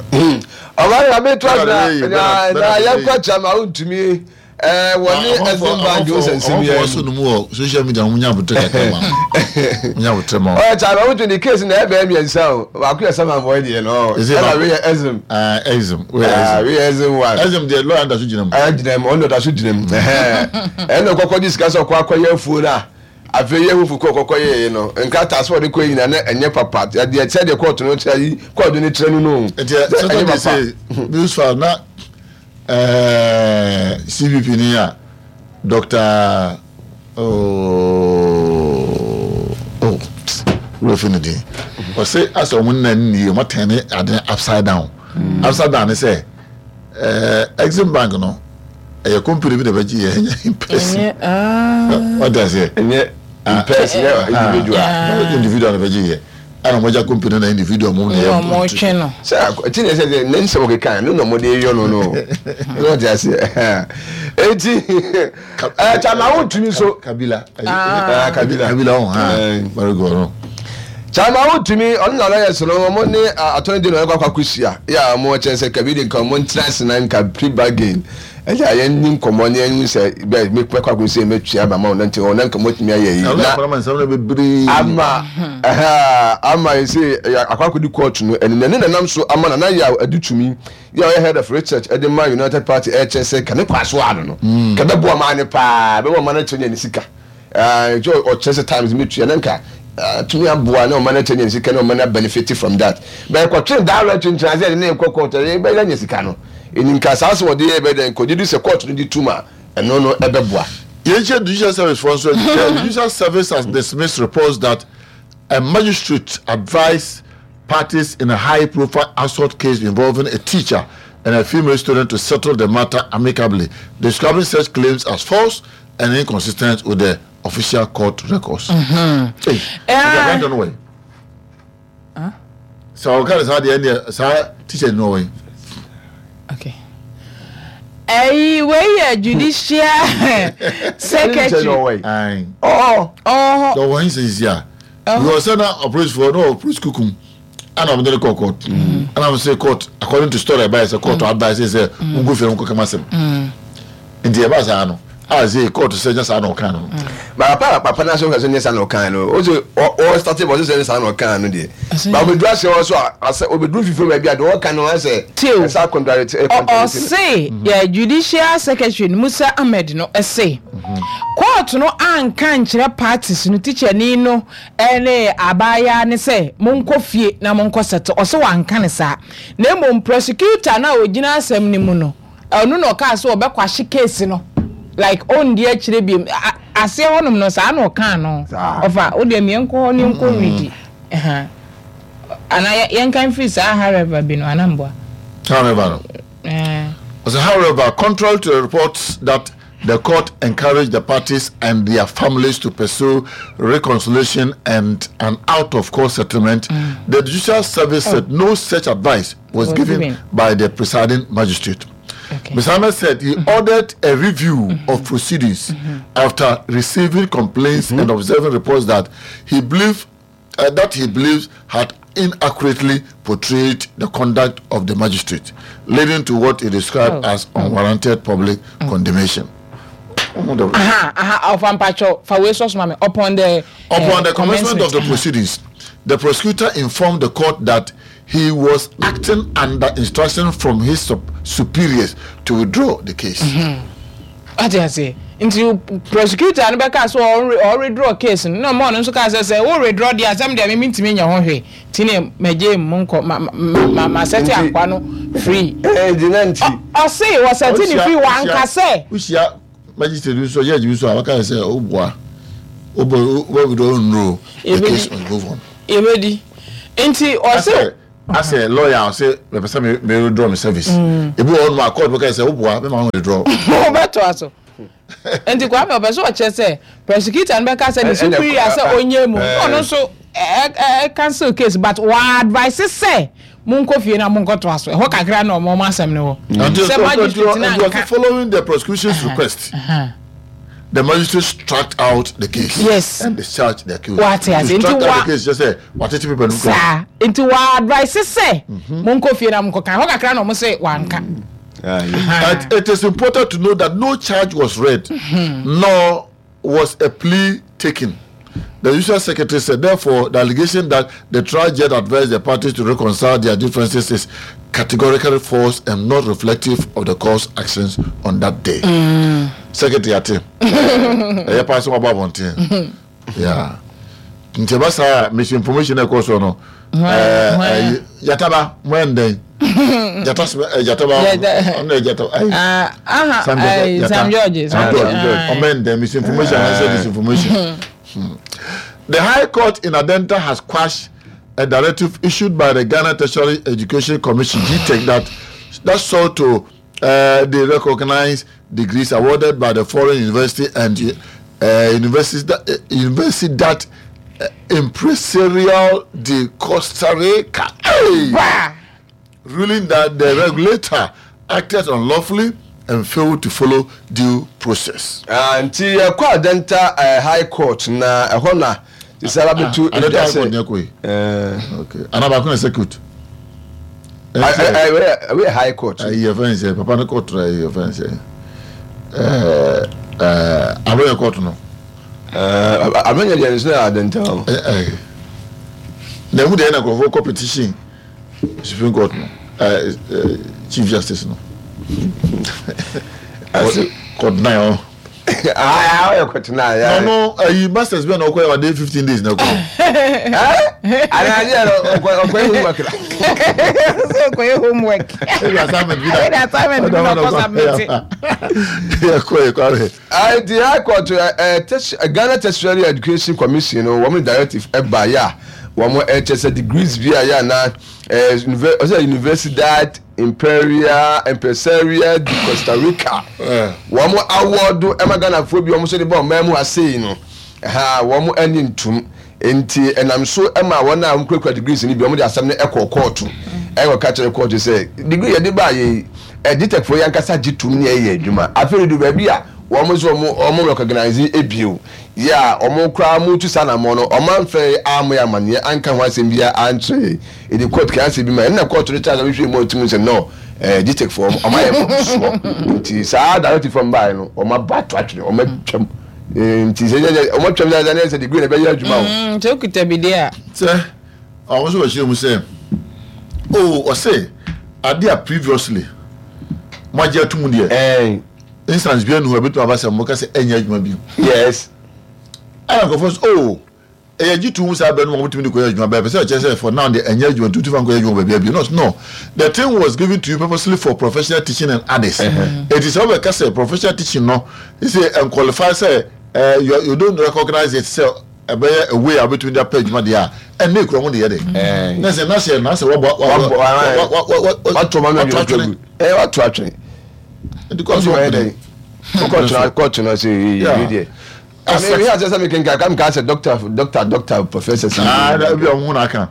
ɔma no abeto ase na na yɛnkɔ kyɛ ma wontumi Ɛɛ wɔne Exim Bank wo sɛ nsɛm yɛ. Ɔmo so no mu wɔ social media ɔmo nya abotere kakra ma ɔmo nya abotere ma. Ɔyɛ kya na ɔmo twe ne case na ɛbɛyɛ mmiɛnsa o baako yɛ Saman boy deɛ no ɛna wei yɛ Exim. Ɛɛ Exim wei yɛ Exim. Wei yɛ Exim one. Exim deɛ lawyer da so gyina mu. Ɛɛ gyina mu ɔno da so gyina mu ɛna ɔkɔkɔ gye sika sɛ ɔkɔ akɔyɛ afuo no a afei yɛ hufu kɔ ɔkɔkɔ yɛ no nkrataa sɛ ɔde kɔ nyina na ɛnyɛ papa deɛ sɛdeɛ kɔɔto no kyerɛ yi kɔɔto no kyerɛ no no. Nti sɛ ɛnyɛ papa. News file na. Ɛɛ CPP ni a Doctor oh oh wura fi ne din ɔse asɛ wɔn nna nni yie wɔn atɛn ne ade upside down mm. upside down ne sɛ ɛɛ Exim Bank no ɛyɛ company bi na ɛbɛgye yɛ ɛnyɛ in person ɔde aseɛ ɛnyɛ in person ɛnyɛ individual individual na ɛbɛgye yɛ. Ɛna ɔmo agya company na individual mo na yɛ ɔmo twe no. Sɛ ti na ɛsɛ sɛ ne nsɛm ɔkeka no na ɔmo de yɔ no no na ɔte aseɛ eti ɛɛ kyama wo ntumi so. Kabila kabila kabila ɔn ha very good no. Kyama wo ntumi ɔno na ɔyɛ so no ɔmo ne attorney general ɛkɔ akɔ akɔhyia yɛ a ɔmo kyɛn sɛ kabila nka ɔmo ntena ase na nka pre bargain. Ɛyɛ a yɛnni nkɔmmɔ na yɛnhu sɛ bɛ mɛkɔ akɔsi sɛ mɛtua aba ma wo na nti ɔna nka mɔtumi ayɛ yi na ama ama yɛ sɛ akɔ akɔdi kɔɔto no ɛno na ɛno na nam so ama Nana Yaw adi tumi yɛ ɔyɛ head of research ɛde ma United Party ɛkyɛ sɛ ka ne kɔ aso ano no mm. ka bɛboa maa ne paa bɛboa maa no kyerɛ ne sika nti ɔkyerɛ sɛ times mɛtua na nka tumi aboa na ɔma no kyerɛ ne sika na ɔma no benefit from that bɛyɛ kɔtwe direct nkyerɛ sɛ ɛde ne kɔ court ɛyɛ bɛyɛ nya sika no Ɛnim ka saa sɛ wɔde yɛ bɛyɛ dɛn kɔgye di sɛ court no gye tom a ɛno no ɛbɛboa. Yɛnhyɛ Judicial Service foɔ nso adi sɛ Judicial Service has dismissed reports that a magistrate advised parties in a high-profile assault case involving a teacher and a female student to settle the matter amicably, describing such claims as false and inconsistent with the official court records. Hey, mm-hmm. uh, Sɛ ɔka no saa deɛ ɛndeɛ saa teacher no ɔwɔ Okay. Ɛyi wei yɛ judicial secretary. Ayi. Ɔɔ. Ɔhɔ. Ɔwɔ hin sisi a. Because sɛ na ɔpolisifoɔ na ɔpolisi kukum ɛna ɔmo de ne kɔ court ɛna ɔmo sɛ court according to story ɛba yɛ sɛ court advice sɛ mo go fie mo kɔ kama sɛm nti ɛba saa no. A sei kɔɔto sɛ nyɛ saa na ɔkaa no no. Ba papa papa na sɛ nyɛ saa na ɔkaa no o sɛ ɔ start bɔ sɛ sɛ saa na ɔkaa no deɛ ba ɔbɛduru ase hɔ so a asɛ ɔbɛduru fifiri baabi a deɛ ɔka no asɛ ɛsɛ akɔntrarete ɔse yɛ judicial secretary no Musa Ahmed no ɛse kɔɔto no anka nkyerɛ parties no tikyani no ɛne abaayaa ne sɛ monkɔ fie na monkɔ sɛte ɔse wanka ne saa na mmom prosecutor no a ɔgyina asɛm no mu no Ɔno na ɔkaa sɛ ɔbɛkwahye case no like ɔndi akyire biom aseɛ hɔnom no saa na ɔkaa no ɔfa wo deɛ meɛnkɔ hɔ ne nkɔ redi anaa yɛnka mfiri saa however bi no anaa mboa however no ɔsɛ however contrary to the reports that the court encouraged the parties and their families to pursue reconciliation and an out-of-court settlement, mm. the judicial service oh. said no such advice was, was given, given by the presiding magistrate. Okay. Mr. Ahmed said he mm -hmm. ordered a review mm -hmm. of proceedings mm -hmm. after receiving complaints and observing reports that he believed uh, that he believes had inaccurately portrayed the conduct of the magistrate, leading to what he described oh. as unwarranted public mm. condemnation. Aha, aha, upon the upon uh, the commencement of the proceedings, the prosecutor informed the court that he was acting under instruction from his superiors to withdraw the case. Ate ase nti prosecutor no bɛka sɛ ɔredraw case no na ɔmo ɔno nso kaa sɛ sɛ wo redraw deɛ asɛm deɛ mimi ntumi nyɛ ho hwee ti ne mɛgye mu nkɔ ma ma ma sɛte akwa no free. Ɔse wɔsɛte ne free wanka sɛ. Wohyia magistrate bi nso judge bi nso a waka sɛ woboa. Wobɛ wobɛ withdraw nnuro the case must move on. Yɛbɛdi nti ɔse. Asɛ lawyer a ɔse mepɛ sɛ me me withdraw me service. Ebi wɔ hɔ nom a court bɛka sɛ woboa mɛma wo withdraw. Wobɛtoa so. Nti Kwame ɔpɛ sɛ ɔkyerɛ sɛ prosecutor no bɛka sɛ ne superior sɛ ɔnyɛ mu na ɔno nso ɛ cancel case but wɔ advice sɛ monkɔ fie na monkɔtoa so. Ɛhɔ kakra na ɔmo ɔmo asɛm no wɔ. Sɛ magistrate no anka. Following the prosecution's request. The magistrate struck out the case. Yes. And discharged the accused. Wate ase. Nti wa struck out the case just sɛ watete paper no mu. Saa. Nti wa advice sɛ monkɔ fie na monkɔ kan. Hɔ kakra na ɔmo se wanka. And it is important to note that no charge was read, nor was a plea taken. The judicial secretary said, therefore, the allegation that the trial judge advised the parties to reconcile their differences is categorically false and not reflective of the court's actions on that day. Mm. Secretary ate. Ɛyɛ paa sɛ wabɔ abɔnten. Yeah. Nti ɛba saa misinformation na ɛkɔ so no. Yataba mo ɛndɛn. Jata jataba ɔno yɛ jata ayi. Sam George. Sam George. Ɔmo ɛndɛn misinformation and disinformation. Hmm. The High Court in Adenta has quashed a directive issued by the Ghana Tertiary Education Commission (GTEC) that that sought to uh, the recognized degrees awarded by the foreign university and uh, university that, uh, university that uh, Empresarial de Costa Rica. Hey! Ruling that the regulator acted unlawfully and failed to follow due process. Ah, nti yɛkɔ Adenta eh, High Court na ɛhɔ na te sɛ aba bɛtu ah, Adenta edwa High sɛ Court ní ɛkɔ yi. eh, Okay. Ana baako na circuit. ah, eh, eh, wei wei yɛ High Court. Ayi yɛ fɛn sɛ papa ne court na yɛ fɛn sɛ ɛɛ ɛɛ abɛyɛ court no. Eh, abɛnyɛ deɛ nso yɛ Adenta o. Ɛɛ ɛɛ na emu deɛ na nkurɔfoɔ kɔ petition. Supreme Court no eh, eh, Chief Justice no. Court nine ɔ. Ɔyɛ court nine. Na ɔno ayi masters bi a na ɔkɔ yɛ ɔde 15 days na kɔ. Anadeɛ no ɔkɔ yɛ homework la. Sɛ ɔkɔ yɛ homework. Ebi assignment bi na. Ebi assignment bi na ɔkɔ submit. Yɛ kɔ yɛ kɔ ahwɛ. Nti High Court Ghana Tertiary Education Commission no wɔn directive ɛba yɛ a wɔn ɛkyɛ sɛ degrees bi a yɛ ana ɔsɛ Universidad Imperial Empresaria de Costa Rica wɔn awɔdo ɛma Ghanafoɔ bi wɔn nso de ba ɔman mu ha sei no ha wɔn ani ntum. Enti ɛnam so ma wɔn a wɔkurakura degrees no bi, wɔde asɛm no kɔɔ kɔɔto kɔka kyerɛɛ kɔɔto sɛ, Degree yɛde baeɛ yi, GTECfoɔ yi ankasa gye tom ne ɛyɛ adwuma. Afei ɛduru baabi a wɔn nso wɔn recognise bio. Yɛ a wɔn koraa wɔretu saa anammɔn no, wɔamfrɛ yɛn ammɔ yɛn amanneɛ anka ho asɛm biara ankyerɛ yɛn. Enti kɔɔto kaa asɛm bi ma yɛn. Ɛnna kɔɔto no tenaa ase hwehwɛɛ mu a wɔtumi hu sɛ no, GTECfoɔ wɔayɛ mfomsoɔ. Enti saa directive a wɔbaeɛ no, wɔabɔ ato atwene, wɔatwam. Nti sɛ yɛ wɔn atwam sɛ ɛsɛ sɛ degree na ɛbɛyɛ adwuma o. Mm, nti okita bi deɛ a. Sɛ wɔn nso bɛkyerɛ mu sɛ oh ɔsɛ ade a previously mo agye atum deɛ. Ɛn. Instance bi anu hɔ ebetumi aba sɛ mo ka sɛ ɛnyɛ adwuma bi. Yes. Ɛna nkurɔfoɔ sɛ oh. Ɛyɛ gye to mu saa berɛ no ma wɔtumi de kɔyɛ adwuma but ɛpɛ sɛ ɛkyerɛ sɛ for now deɛ ɛnyɛ adwuma nti wotumi fa nkɔyɛ adwuma wɔ baabiara bio no no the thing was given to you purposely for professional teaching and others enti sɛ wobɛka sɛ professional teaching no sɛ ɛnqualify sɛ eh, you, you don't recognize it sɛ ɛbɛyɛ a way a wobɛtumi de apɛ adwuma deɛ a ɛnna ekura ho de yɛ de na sɛ na sɛ na sɛ wabɔ wato ma no atwene wato atwene nti kɔɔto yɛ dɛn kɔɔto no sɛ yɛ deɛ Ame mi ase sɛ mi kenkan kam ka sɛ doctor doctor doctor professor si. Ah, that be ɔmo na aka.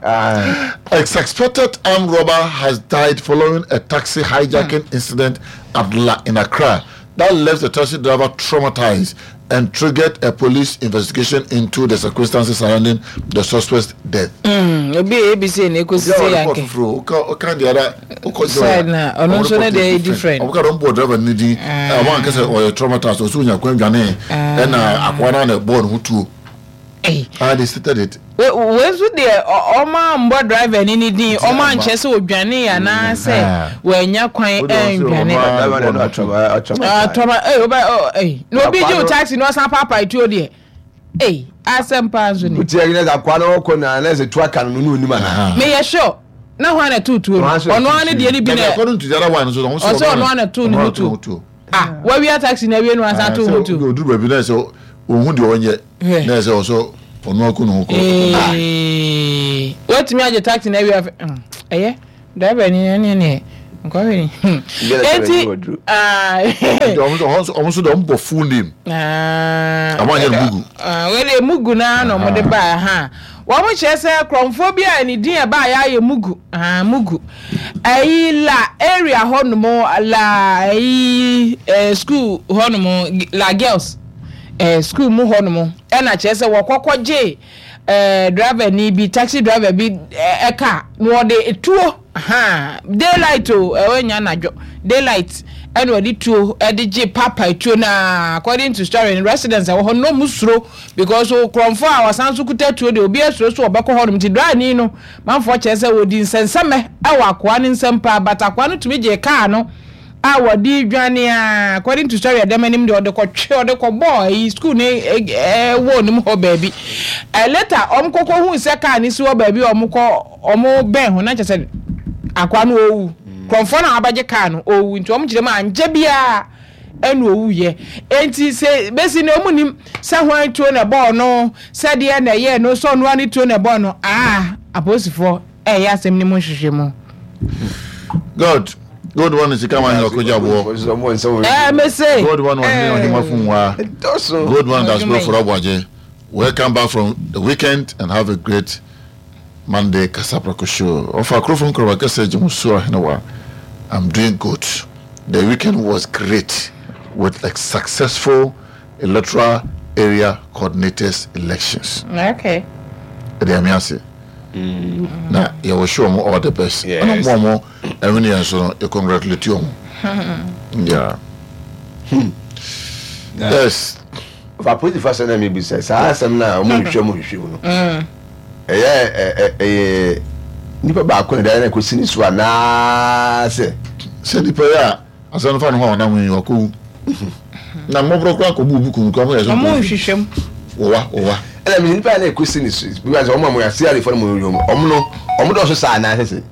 A suspected armed robber has died following a taxi hijacking hmm. incident at La in Accra that left the taxi driver traumatized and triggered a police investigation into the circumstances surrounding the suspect's death. Mm, obi a ABC na ekosi sɛ yanke. Ɔka deɛ ara ɔkɔ side na ɔno nso ne deɛ yɛ different. Ɔmo ka dɔm bɔ driver ne din. Ɔmo anka sɛ ɔyɛ traumatized ɔsɛ onya kwan dwane ɛna akoa no na ɛbɔɔ ne ho tuo. Ah, they stated it. Wei nso deɛ ɔmo ambɔ driver ne ne din ɔmo ankyerɛ sɛ odwane anaasɛ wanya kwan andwane. Trauma ɛy ɔbɛ ɛy na obi gye o taxi na ɔsan paapae tuo deɛ. Ei, asɛm paa nso ni. Wotia yi na sɛ akoa no ɔkɔ na na sɛ tu aka no no na onim anaa. Meyɛ sure na hwan na ɛtoo tuo no? Ɔno ara ne deɛ no bi na According to the other one nso ɔsɛ ɔno ara na ɛtoo ne ho tuo. Ah, wawia taxi na awie no asan too ho tuo. Oduru baabi na sɛ ohun deɛ ɔnyɛ. Na ɛsɛ ɔsɛ ɔno aku ne ho kɔ. Watumi agye taxi na awie afɛ ɛyɛ driver ni ɛne ɛne nkɔhwɛ ni. Eti ɔmo nso de ɔmo bɔ full name. Ɔmo anyɛ no mugu. Wei de mugu naa na ɔmo de baa ha. Wɔn kyerɛ sɛ korɔmfoɔ bi a ne din ɛbaa yɛ ayɛ mugu mugu. Ɛyi la area hɔ nom la ɛyi school hɔ nom la girls. eh, sukuu mu hɔnom ɛna kyerɛ sɛ wɔkɔ kɔgye eh, driver ni bi taxi driver bi eh, car na wɔde tuo ha daylight o ɛwɔ nya anadwo daylight ɛna wɔde tuo ɛde gye papa tuo na according to story no residents ɛwɔ hɔ no ɔmo suro because okorɔmfo a wɔsan so kuta tuo de obi asuro so ɔbɛkɔ hɔnom ti driver ni no manfoɔ kyerɛ sɛ wɔdi nsɛnsɛmɛ ɛwɔ akoa ne nsɛm paa but akoa no tumi gye car no a wɔde redwane a according to story ɛdɛm anim deɛ ɔde kɔtwe ɔde kɔbɔɔ ɛyi school ne ɛwɔ ne mu hɔ baabi ɛ later wɔn kɔkɔ hu sɛ kaa ne si hɔ baabi wɔn kɔ wɔn bɛn ho na kyerɛ sɛ akwa no owu kurɔmfoɔ na wabɛgye kaa no owu nti wɔn kyerɛ mu ankyɛ biara ɛna owu yɛ nti sɛ besi na wɔn nim sɛ hwan tuo na ɛbɔɔ no sɛ deɛ na ɛyɛ no sɛ ɔno ani tuo na ɛbɔɔ no aa apolisifoɔ ɛyɛ asɛm no mu nhwehwɛmu. God, God one sika ma nyɛ ɔkɔgya boɔ. Ɛɛ mese. God one ɔhene ɔhema fun wa. God one dasbro for ɔbɔagye. Welcome back from the weekend and have a great Monday Kasaprako show. Ɔfa kurofo nkorɔba kɛsɛ gye mo so ɔhene wa. I'm doing good. The weekend was great with a successful electoral area coordinators elections. Okay. Ɛde ame ase. Na yɛ wish wɔn all the best. Ɛna wɔn a wɔn ɛwini yɛn so no yɛ congratulate wɔn. Yeah. Hmm. Yes. Fa polisi fa sɛ na mi bi sɛ saa asɛm na wɔn hwehwɛ mu hwehwɛ mu no. Ɛyɛ ɛyɛ nipa baako na ɛda na ɛkɔ si ne so anaasɛ. Sɛ nipa yɛ a. Asɛm no fa ne ho a ɔnam yi ɔkɔwu na mmɔborɔ koraa kɔbu obi kum koraa moyɛ sɛ ɔmo nhwehwɛ mu wɔwa wɔwa ɛna mi nipa na ɛkɔsi ne so bi sɛ ɔmo a mo yɛ asiarefo no mo yɛ ɔmo no ɔmo dɔɔso saa anaa sɛ sɛ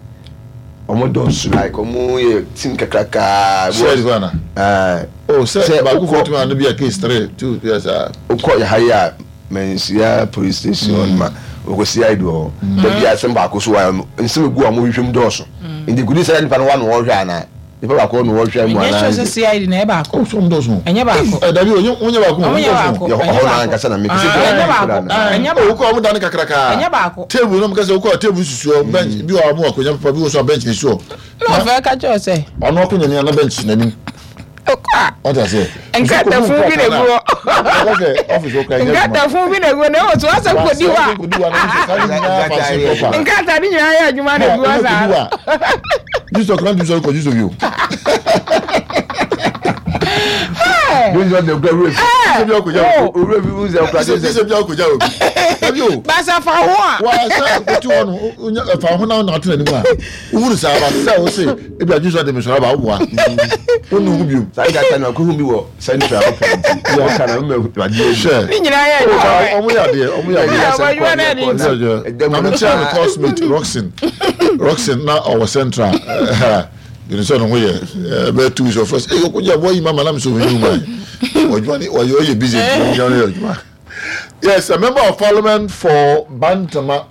ɔmo dɔɔso like ɔmo yɛ team kakraka siarefo ana ɛɛ oh sɛ baako fo tumi ano bi a case 3 2 yɛ saa okɔ yɛ ha yi a Manhyia police station hɔ ma wɔkɔ CID wɔ hɔ. Da bi asɛm baako so wa nsɛm egu a wɔhwehwɛ mu dɔɔso. Nti kudi sɛ nipa no wa na wɔhwɛ ana? Nipa baako na wɔhwɛ mu ana? Ɛnyɛ sure sɛ CID na ɛyɛ baako. Oh, so wɔn dɔɔso. Ɛnyɛ baako. Ɛ dabi o, wɔn nyɛ baako. Wɔn nyɛ baako. Yɛ hɔ na ankasa na mi kisi kura. Ɛnyɛ baako. Ɛnyɛ baako. Okɔ wɔn dan kakraka. Ɛnyɛ baako. Table na mo kasa okɔ table sisi hɔ bench bi wɔ a wɔn akonnwa papa bi wɔ so a bench na esi hɔ. Na ɔfɛ ka kyerɛ sɛ. Ɔno akonnwa ni ana bench n'anim. Ɔkɔ a nkratafo bi na egu hɔ. Nkratafo bi na egu hɔ na ɛwɔ so asɛ kodi hɔ a. Nkrataa ne nyinaa yɛ adwuma na egu hɔ saa. Jesus kura ntumi sɔrɔ kɔ Jesus bi o. Basa fa ho a. Wa sɛ kotu hɔ no fa ho na ɔna ato n'anim a. Wohunu saa ba sɛ wo se ebi a Jesus de me sɔrɔ aba woboa. Wonu ho bio. Saa nkata no akohu bi wɔ central hɔ pɛn nti. Wɔka na mma adeɛ Hwɛ. Ne nyinaa yɛ adwuma. Ɔmo yɛ adeɛ ɔmo yɛ adeɛ. Ɔmo adwuma no ɛde nti. Maame kyerɛ me coursemate Roxin Roxin na ɔwɔ central. Yɛn sɛ ɔno ho yɛ ɛbɛyɛ 2 weeks ɔfrɛ sɛ ɛyɛ ɔkɔgye aboa yi ma ma na me sɛ ɔhwɛ ma ɔdwuma ne ɔyɛ ɔyɛ busy nti ɔnyɛ ɔyɛ adwuma. Yes, a member of parliament for Bantama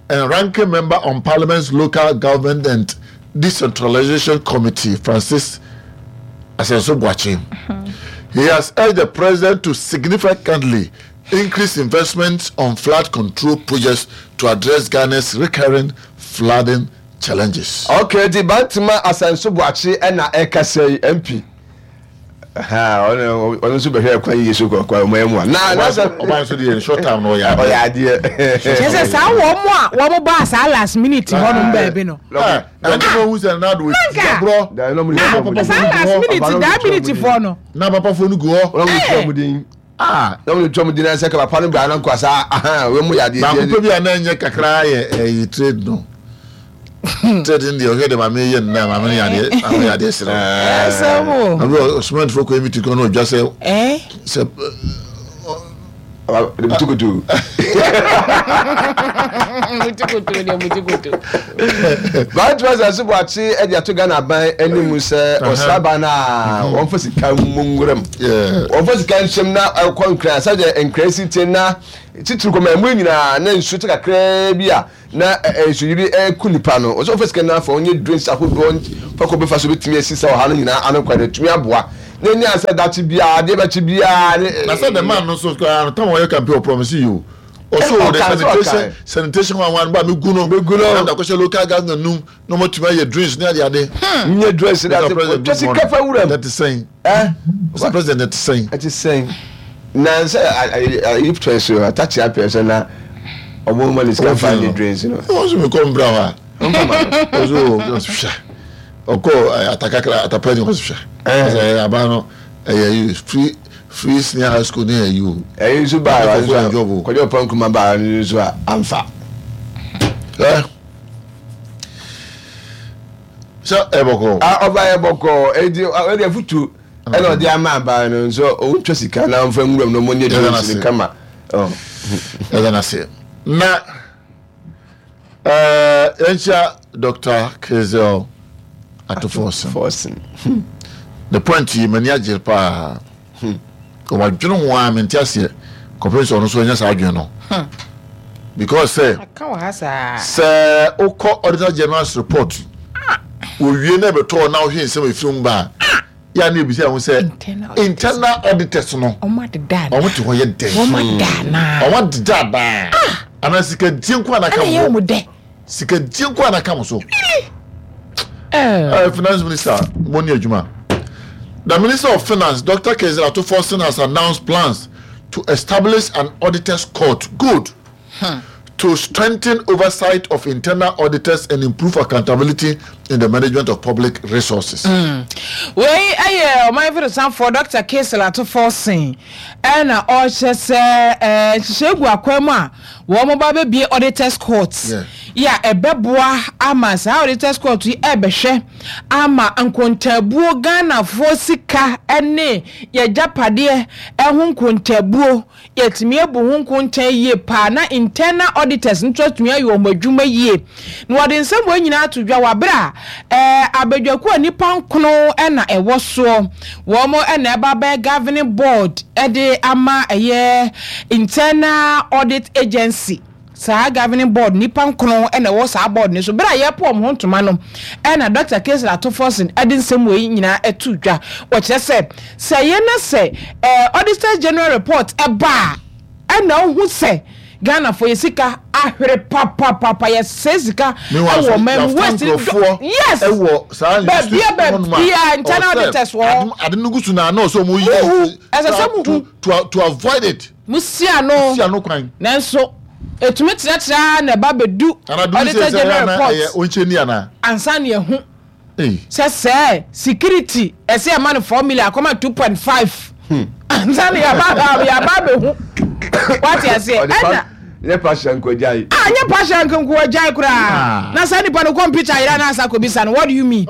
and ranking member on Parliament's Local Government and Decentralization Committee, Francis Asenso Boakye. He has urged the president to significantly increase investments on flood control projects to address Ghana's recurring flooding challenges. Okay, di Bantama Asenso Boakye na ɛkasa yi MP. ɔno nso bɛhwɛ kwan yie so kɔkɔ ɔmo ɛmu a na na sɛ ɔbaa nso deɛ short time na ɔyɛ adeɛ ɔyɛ adeɛ kyerɛ sɛ saa wɔn mo a wɔn baa saa last minute hɔ nom baabi no ɛnti mo hu sɛ nado nanka saa last minute daa minute foɔ no na papafoɔ no gu hɔ wɔn mo tua mu din Ah. Na wɔn twam gyina sɛ papa no baa na nkɔ saa ahan wɔn mu yɛ adeɛ. Baako pɛ bi a na ɛnyɛ kakra yɛ ɛyi trade no. Trade no deɛ ɔhwɛ de maame yɛ no na maame no yɛ adeɛ maame yɛ adeɛ srɛ. Ɛsɛ mo. Abi ɔsomantfo kɔ emi ti kɔ na ɔdwa sɛ. Ɛɛ. Sɛ. Mutukutu. Mutukutu deɛ mutukutu. Vice President so Boakye de ato Ghana aban anim sɛ ɔsraban no a wɔmfa sika mmɔ nwuram. Wɔmfa sika nhyɛm na ɛkɔ nkran sɛdeɛ nkran si te na titiri kɔma ɛmu nyinaa na nsuo te kakraa bi a na nsuyiri reku nnipa no, ɔsɛ ɔfa sika no afa ɔnyɛ drinks ahodoɔ fa kɔ bɛfa so bɛtumi asi sɛ ɔha no nyinaa ano kwan atumi aboa na ɛnyɛ sɛ dakye biara adeɛ bɛkye biara ne. Na sɛ the man no nso koraa no tam ɔyɛ campaign ɔpromise yi o ɔso the sanitation sanitation ho ahoa no ba megu no megu no na mede akɔhyɛ local government num na ɔmatumi ayɛ drinks ne ade ade. Nyɛ drinks ne ade twa sika fa wuram. Ɛte sɛn? Mr President ɛte sɛn? Ɛte sɛn? Na sɛ ayi pɛ so atakye apɛ so na ɔmo ma ne sika fa ne drinks no. Wɔn nso mekɔ mbra hɔ a. Ɔso hwɛ ɔkɔ atakakra atapa ni ɔso hwɛ. Ɔsɛ aba no ɛyɛ free free senior high school ne ɛyi o. Ɛyi nso baa nso kɔjɔ pɔn kuma baa nso a anfa. Sɛ ɛbɔkɔ. Ɔba yɛ bɔkɔ edi ɔde afutu ɛna ɔde ama aban no nso ɔntwa sika na ɔmfa nwuram na ɔmɔ nyɛ drinks no kama. Ɛda no ase na yɛnkyia Dr. Kezel Atoforson. The point yi m'ani agye paa. Wadwene ho a mente aseɛ kɔpem sɛ ɔno nso anya saa adwene no. Because sɛ sɛ wokɔ Auditor General's report wɔwie na ɛbɛtɔɔ na wohwɛ nsɛm ɛfiri mu ba a yɛ a na ebisa ho sɛ internal auditors no wɔn te hɔ yɛ dɛn wɔn adeda anaa anaa sika die nko a na ka mo sika die nko a na ka mo so ɛɛ finance minister mo ni adwuma the minister of finance dr Cassiel Ato Forson has announced plans to establish an auditors court good. To strengthen oversight of internal auditors and improve accountability in the management of public resources. Wei yɛ ɔman mfirisamfoɔ Dɔkta Cassiel Ato Forson na ɔrekyerɛ sɛ nhyehyɛe gu akwan mu a wɔba abɛbue Auditors Court yi a ɛbɛboa ama saa Auditors Court yi ɛrebɛhwɛ ama nkontaabuo Ghanafoɔ sika ne yɛagyapadeɛ ho nkontaabuo Yɛatumi abu ho nkontaa yie paa na internal auditors nso atumi ayɛ wɔn adwuma yie. Na wɔde nsɛm wei nyinaa ato dwa wɔ aberɛ a ɛɛ abadwakuo a nnipa nkono na ɛwɔ soɔ, wɔn na ɛba abɛyɛ governing board de ama ɛyɛ internal audit agency. Saa governing board nnipa nkron na ɛwɔ saa board no so. Bere a yɛrepo wɔn ho ntoma no na Dɔkta Kingsley Ato Forson de nsɛm wei nyinaa too dwa. Ɔkyerɛ sɛ, sɛ ɛyɛ na sɛ Auditor General report ba a, ɛna wohu sɛ Ghanafoɔ yɛ sika ahwere papapapa, yɛsɛe sika wɔ ɔman mu, waste no dɔ, yes, baabia baabia internal auditors wɔ hɔ. Ade no gu so na na ɔsɛ wɔn yi ɛsɛ sɛ muhu to avoid it. Musi ano. Musi ano kwan. Nanso etumi kyerɛkyerɛ ara na ɛba bedu Auditor General report. Ɛyɛ onkyɛ ni ana. Ansa na yɛahu sɛ sɛɛ security ɛsɛ yɛma no 4 million akɔma 2.5 ansa na yɛaba yɛaba abɛhu. Wate aseɛ ɛna. Nyɛ pasha nkɔgyae. Ah nyɛ pasha nkɔgyae koraa. Na saa nipa no kɔmputa yera na asa kɔbisa no what do you mean?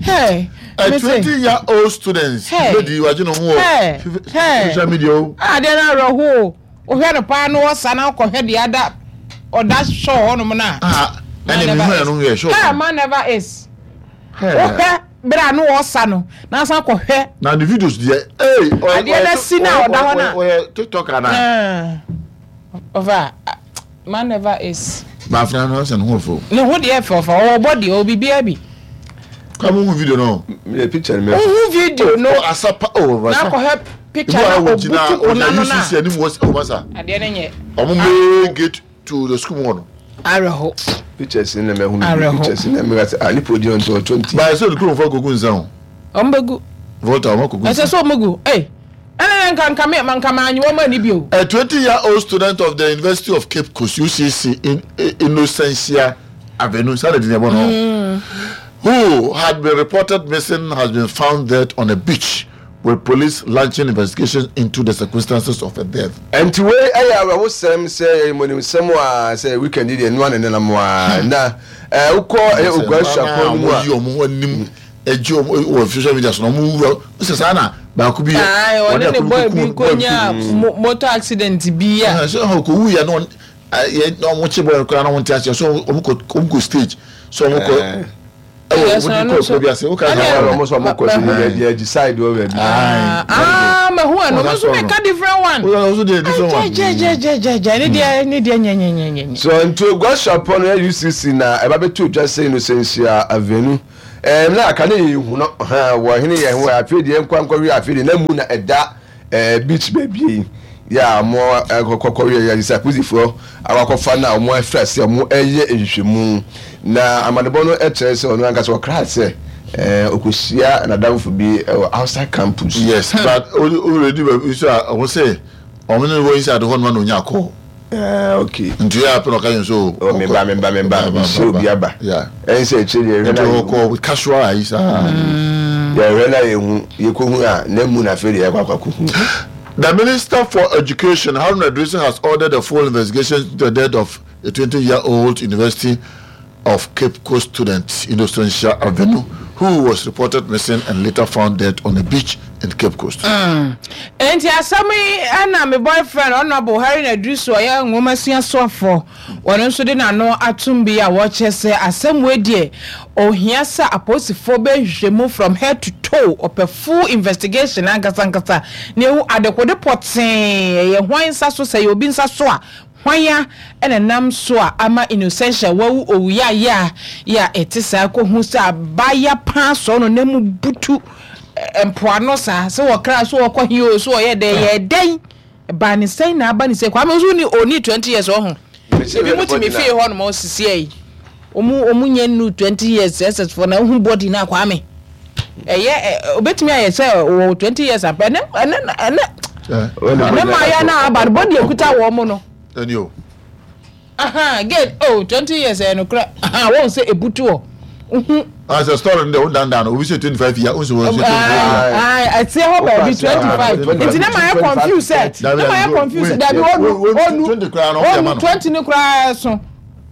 Hey. A 20 year old student lady wagye ne ho wɔ social media o. Adeɛ no awerɛho o. Wohwɛ no paa na ɔsa na wokɔhwɛ deɛ ada ɔda sure hɔnom no a. Ɛne mehu ɛno yɛ sure. Hey, man never is. Wohwɛ berɛ a na ɔsa no na asan kɔhwɛ. Na ne videos deɛ ee. Adeɛ no asi na ɔda hɔ no a. Ɔyɛ TikTok anaa. Ɔfa man never is. Baafena no sɛ ne ho fɛ. Ne ho deɛ fɛ ɔfa ɔwɔ bɔ deɛ ɔwɔ biribiara bi. Kwa mo hu video no. Me picture no. Hu video no. Oh asapa oh masa. Na kɔhwɛ picture na obutu kuna no na. UCC anim wɔ oh masa. Adeɛ no nyɛ. Ɔmo main gate to the school mu hɔ no. Awerɛho. Pictures na mɛ hu pictures na mɛ sɛ ah nipa odi ɔntɔ 20. Ba ɛsɛ ɔde kuromfoɔ akogu nsa o. Ɔmo bɛgu. Volta ɔmo akogu nsa. Ɛsɛ sɛ ɔmo gu. Ee. Ɛna na nka nka me nka mannye wɔn anni bio. A 20 year old student of the University of Cape Coast, UCC, in Innocentia Avenue, saa na din yɛbɔ no, who had been reported missing has been found dead on a beach with police launching investigations into the circumstances of her death. Ɛnti wei ɛyɛ awerɛhosɛm sɛ yɛyɛ mɔnimsɛm a sɛ weekend yi deɛ ɛnoa ne nenam a na wokɔ ɛyɛ Oguaa Suapɔn no mu a. Wɔyi wɔn ho anim gye wɔn wɔ social media so na wɔn wura sɛ saa na. Baako bi yɛ ɔne ne boy bi kɔnya motor accident bi a. Sɛ ɔkɔ wu yɛ no yɛ na ɔmo kye boy no koraa na ɔmo nte aseɛ so ɔmo kɔ ɔmo kɔ stage so ɔmo kɔ ɛwɔ ɔmo de kɔ kuro bi ase woka sɛ ɔmo sɛ ɔmo kɔ sɛ baabi agyi side wɔ baabi. Aa mɛ hu ɛno ɔmo nso mɛ ka different one. Ɔmo nso deɛ different one. Gyɛgyɛgyɛgyɛgyɛ ne deɛ ne deɛ nyɛnyɛnyɛnyɛ. So nti ogua suapɔn no UCC na ɛba bɛto dwa sɛ Innocentia Avenue. Ɛɛ na aka ne yɛ hu no hɛn wɔ hene yɛ ho afei deɛ nkwa nkɔwe afei deɛ na mu na ɛda ɛɛ beach baabi yi yɛ a wɔn ɛkɔkɔwe yɛ sɛ apolisifoɔ akɔkɔfa na wɔn afiri ase wɔn ɛyɛ nhwehwɛmu na amanebɔ no ɛkyerɛ sɛ ɔno ankasa ɔkra sɛ ɛɛ ɔkɔhyia n'adamfo bi ɛwɔ outside campus. Yes but already baabi nso a wɔn sɛ wɔn ne wɔ inside hɔ nom na onya kɔɔ. Ah, okay. Nti yɛ apɛ na ɔka yɛn so. Oh, me ba, me ba, me ba. Me hyɛ obi aba. Yeah. Ɛn sɛ akyire deɛ yɛhwɛ na yɛhu. Nti ɔkɔ casual ayi saa. Yɛhwɛ na yɛhu, yɛkɔhu a, na mu na afei deɛ yɛkɔ akɔ akɔhu. The Minister for Education, Haruna Iddrisu, has ordered a full investigation into the death of a 20-year-old University of Cape Coast student, Innocentia Avenue, who was reported missing and later found dead on a beach in Cape Coast. Mm. Enti asɛm yi na me boyfriend Honourable Harry Nadrisu ɔyɛ nwomasua soafoɔ wɔno nso de n'ano atom bi a wɔkyerɛ sɛ asɛm wei deɛ ohia sɛ apolisifoɔ bɛ nhwehwɛmu from head to toe ɔpɛ full investigation ankasa ankasa na ehu adekode pɔtee ɛyɛ hwan nsa so sɛ ɛyɛ obi nsa so a Hwan a na ɛnam so a ama Innocentia wawu owu yaayaa yi a ɛte saa kohu sɛ abaayewa paa sɔɔ no na mu butu mpoano saa sɛ wɔkra so wɔkɔ he o so wɔyɛ dɛn yɛ dɛn ɛbaa ne sɛn na aba ne sɛ Kwame nso ni ɔni 20 years ɔho ebi mu te me fie hɔ nom ɔsisi ayi Ɔmu ɔmu nyɛ nnu 20 years SS foɔ na wohu body no a Kwame ɛyɛ obetumi ayɛ sɛ wɔ 20 years ampa ɛnɛ ɛnɛ ɛnɛ ɛnɛ mmaayɛ no aba no body ekuta wɔn mo no. Ɛni o. Aha gate oh 20 years ɛyɛ nokorɛ aha wɔn sɛ ebutu hɔ wohu. Ah sɛ story no deɛ wo dandan no obi sɛ 25 years wo sɛ wɔn sɛ 25 years. Ah ɛteɛ hɔ baabi 25 nti na ma yɛ confuse sɛ na ma yɛ confuse dabi onu onu onu 20 no koraa so.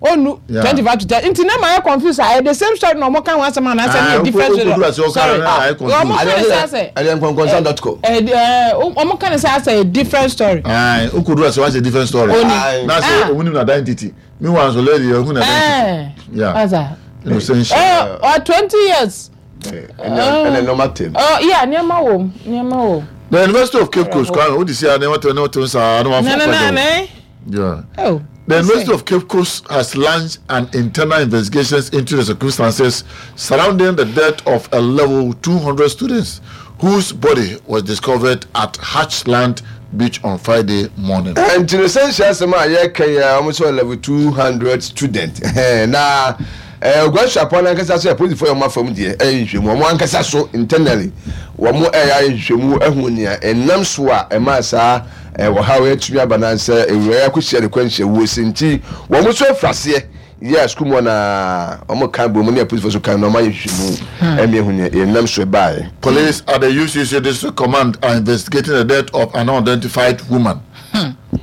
Onu 25 to 30 nti na mayɛ confused a ɛyɛ the same story na ɔmo ka ho asɛm anaasɛ ne yɛ different story sorry ɔmo ka ne sɛ asɛ ɛyɛ nkɔnkɔnsa dot com ɛɛ ɔmo ka ne sɛ asɛ yɛ different story. Ayi okodu ase wa sɛ different story oni na sɛ ɔmo nim na identity meanwhile nso lady yɛ ɔhu na identity yeah asa innocent ɛɛ ɔ 20 years ɛna nneɛma tɛm. Ɔ yeah nneɛma wɔ mu nneɛma wɔ mu. The University of Cape Coast Kwame o de si a nneɛma tɛm nneɛma tɛm saa na wɔn afɔ na na na. Yeah. Oh, The University of Cape Coast has launched an internal investigation into the circumstances surrounding the death of a level 200 students whose body was discovered at Hatchland Beach on Friday morning. Nti no sɛ nhyɛ asɛm a yɛka yi a wɔn sɛ level 200 student na Oguan Suapɔn no ankasa so apolisifoɔ yɛ wɔn afam deɛ ɛyɛ nhwehwɛmu wɔn ankasa so internally wɔn ɛyɛ ayɛ nhwehwɛmu ahu nea ɛnam so a ɛmaa saa Ɔhaw yi atumi aba na sɛ awuraa yi akɔhyia ne kwanhyia wuo se nti wɔn nso afiri aseɛ yɛ a sukuu mu hɔ no ara wɔn ka bom ne apolisifoɔ nso ka na wɔn ayɛ nhwehwɛmu ɛmi ehu nea ɛnam so ɛbaeɛ. Police at the UCC District Command are investigating the death of an unidentified woman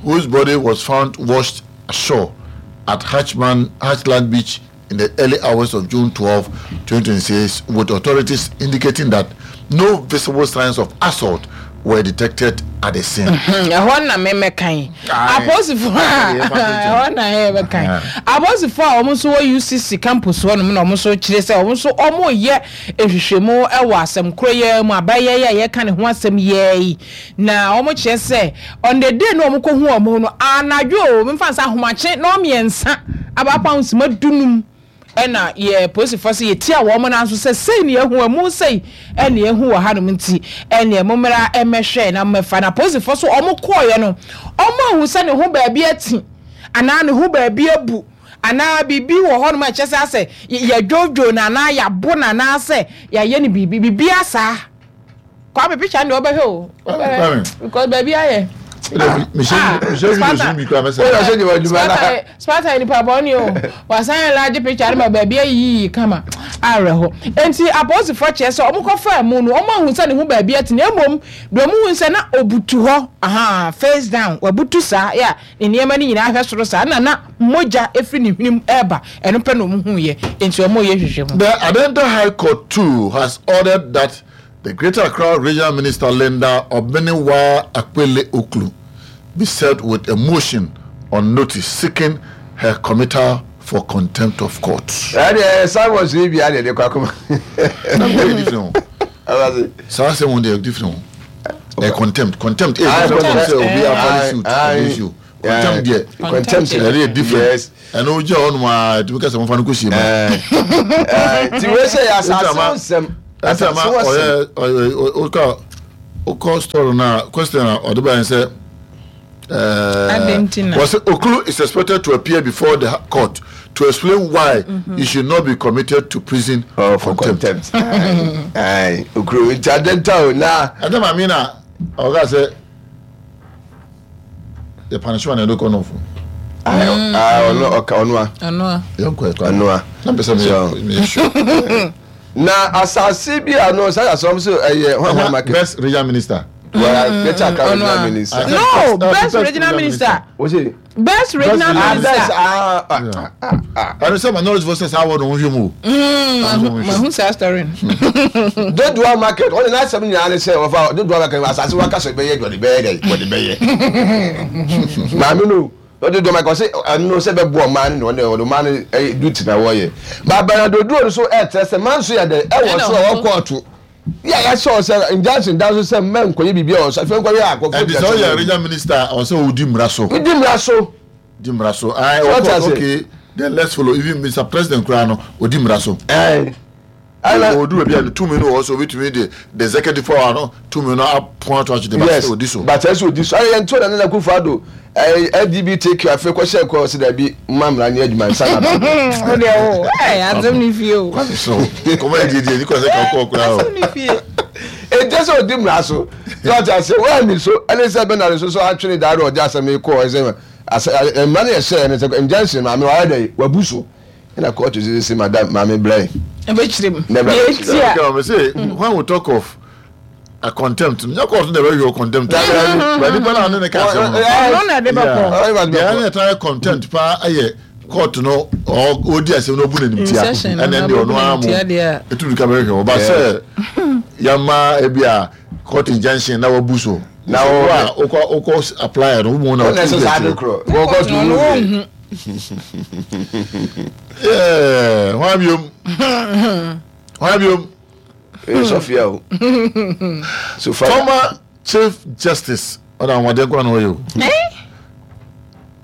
whose body was found washed ashore at Hatchman, Hatchland Beach in the early hours of June 12, 2026, with authorities indicating that no visible signs of assault were detected at the scene. Mhm, ɛhɔ na memɛkan apolisifoɔ a ɛhɔ na yɛbɛkan apolisifoɔ a wɔn nso wɔ UCC campus hɔ nom na wɔn nso kyerɛ sɛ wɔn nso wɔreyɛ nhwehwɛmu wɔ asɛm korɔ yi mu abayɛ yi a yɛka ne ho asɛm yɛ yi na wɔn kyerɛ sɛ on the day no wɔn kɔ hu wɔn no anadwo o memfa nsa ahomakye na wɔn mmiɛnsa abaapa nsima dunum ɛna yɛ polisifoɔ sɛ yɛtia wɔn nan so sɛ sei ne yɛhu ɛmu sei ɛne yɛhu wɔ hanom nti ɛne mommra ɛmɛhwɛ na mmɛfa na polisifoɔ so wɔn kɔɔeɛ no wɔn ahu sɛ ne ho baabi ati anaa ne ho baabi abu anaa biribi wɔ hɔnom a ɛkyɛ sɛ asɛ yɛdwodwo no anaa yɛabo no anaasɛ yɛayɛ no biribi biribi asaa Kwame picture no deɛ ɔbɛhwɛ o ɔbɛhwɛ because baabi ayɛ. Sparta yɛ nipa bɔne o wasan yɛ large picture no ma baabi ayiyi kama awerɛho nti apolisifoɔ kyerɛ sɛ wɔn kɔfaa mu no wɔn ahu sɛ ne ho baabi ate na mmom deɛ wɔn hu sɛ na obutu hɔ aha face down wabutu saa yɛ a ne nneɛma no nyinaa ahwɛ soro saa na na mogya efiri ne hwenem ɛreba ɛno pɛ na wɔn hu yɛ nti wɔn yɛ hwehwɛ mu. The Adenta High Court too has ordered that. The Greater Accra Regional Minister Linda Obenewa Akpele Oklu be served with a motion on notice seeking her committal for contempt of court. Ɛdeɛ Simon so yi bia deɛ de kɔ akoma. Na nkɔ yɛ different o. Saa asɛm wɔn deɛ different o. Ɛ contempt contempt ee contempt sɛ obi afa suit against you contempt deɛ contempt ɛde yɛ different. Ɛno wogyina hɔ nom a ɛtumi ka sɛ momfa no kɔsie ma. Nti wei sɛ yɛ asase ho nsɛm. Asase ho asɛm. Ɔyɛ ɔka ɔkɔ story no a question a ɔde baeɛ sɛ wɔsɛ Okulu is expected to appear before the court to explain why mm -hmm. he should not be committed to prison oh, for contempt. Okulu nti adenta o na. Ɛdɛ maame na ɔka sɛ. yɛ punish one ɛde kɔ nɔfo. ɔno ɔka ɔnoa. ɔnoa. yɛn kɔ ɛkɔ ɔnoa. na mpɛ sɛ mi yɛ sure. Na asase bi a no saa asɔm so ɛyɛ hwan hwan market. Best regional minister. Well, better mm, regional minister. No, best regional minister. What's it? Best regional minister. Best. Ah, ah, ah, ah. Ɛno sɛ minority fo sɛ saa wɔ no ho hwɛ mu o. Mahu saa story no. Dodowa market ɔne n'asɛm nyinaa ne sɛ wɔfa Dodowa market asase waka sɛ bɛyɛ wɔde bɛyɛ dɛ wɔde bɛyɛ. Maame no Dodowa market ɔsɛ ɛno sɛ bɛboa ɔman no na ɔde ɔman no duty na wɔyɛ. Baabara dodoɔ no so ɛkyerɛ sɛ manso yɛ dɛ ɛwɔ so ɛwɔ kɔɔto. Yɛ a yɛahyɛ wo sɛ injunction da so sɛ mma nkɔyɛ biribi a ɔsɛ afei nkɔyɛ a akɔfo Ɛnti sɛ woyɛ regional minister a ɔsɛ wodi mmara so. Wodi mmara so. Di mmara so. Ayi ɔkɔ okay then let's follow even Mr President koraa no odi mmara so. Ayi. Odu baabi a ne tumi no wɔ so obetumi de the executive power no tumi no apɔn ato akyede but sɛ odi so. But ɛsɛ odi so. Ayɛ yɛn to na Nana Akufo Addo LGBTQ afei kɔhyɛ nkɔ sɛ dabi mma mmara nyɛ adwuma nsa na ba. O deɛ o ɛɛ asɛm ni fie o. Kwame so kɔmɔ yɛ diedie ni kɔ sɛ kɔkɔɔ koraa o. Asɛm ni fie. Ɛnkyɛ sɛ ɔdi mmara so sɛ ɔte ase wɔanni so ɛne sɛ Bernard nso so atwene daa ɔde asɛm yi kɔɔ ɛsɛ asɛ mmara no yɛ hyɛɛ no sɛ injunction maame wayɛ dɛ wabu so ɛna kɔɔto sɛ sɛ madam maame brɛ. Ɛbɛkyerɛ mu. Deɛ eti a. When we talk of a contempt no nyɛ court na ɛbɛhwɛ o contempt ba nipa na ɔne ne ka asɛm no ɔno na ɛde bɛkɔ deɛ ɛna ɛta contempt paa ɛyɛ court no ɔdi asɛm no ɔbu n'anim tia ɛna ɛde ɔno ara mo etu duka bɛhwɛ ɔba sɛ yama ebi a court injunction na wabu so na wɔ a wokɔ wokɔ apply no wo mu na ɔtu bi akyire wɔkɔ tu mu bi yɛɛ hɔn abiom hɔn abiom. Ɛyɛ Sofia o. Sofia. Former Chief Justice ɔna ahoɔden kwan na ɔyɛ o.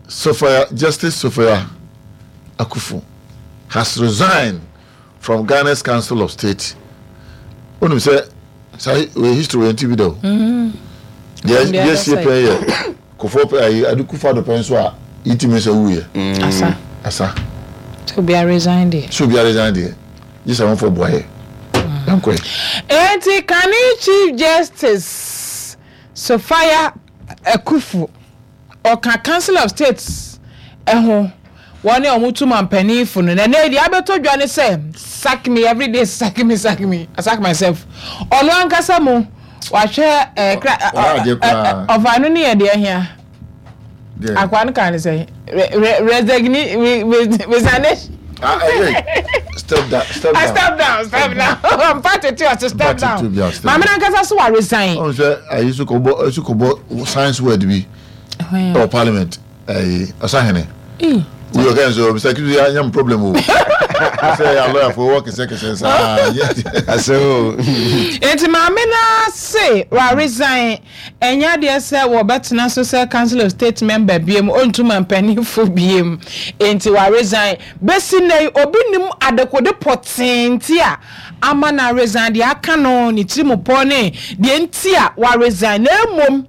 Sophia Justice Sophia Akuffo has resigned from Ghana's Council of State. Onim sɛ saa wɔ history wɔ yɛn ti bi da o. Deɛ deɛ sie pɛn yɛ Kofoɔ pɛ ayi ade kufa do pɛ nso a yitumi sɛ wuyɛ. Asa. Asa. Sɛ obiara resign deɛ. Sɛ obiara resign deɛ. Gye sɛ wɔmfa boa yɛ. Yɛnkɔ ɛ. Enti kane Chief Justice Sophia Akuffo, ɔka Council of State ho, wɔn a wɔtu mampanin fo no, na ɛnnɛ yi deɛ abɛtɔ dwa ne sɛ, sack me everyday, sack me, sack me, I sack myself. Ɔno ankasa mu, wahwɛ eh, kra, ɔfa no ne yɛ deɛ hia. Akoa no kaa ne sɛ resigni resignation. Ah, eh, eh. Step down, step down. Step down, step down. Mpa tete ɔse step down. Maame nankasa so wa resign. Ɔn sɛ ayi so kɔbɔ so kɔbɔ science word bi. Ɛwɔ parliament ayi ɔsahene. Wuyɔ kɛn so Mr. Kisu ya nyam problem o. Sɛ ya lawyer fo wɔ kɛsɛ kɛsɛ saa. Asɛ o. Eti maame na se wa resign. Ɛnyɛ adeɛ sɛ wɔbɛtena so sɛ Council of State member biom, ɔntu mampanimfo biom, enti wa resign. Bɛsi nnɛ yi, obi nnim adekode pɔtee nti a ama no aresign, deɛ aka no, ne tirimupɔ ne deɛ nti a wa resign. Na mmom,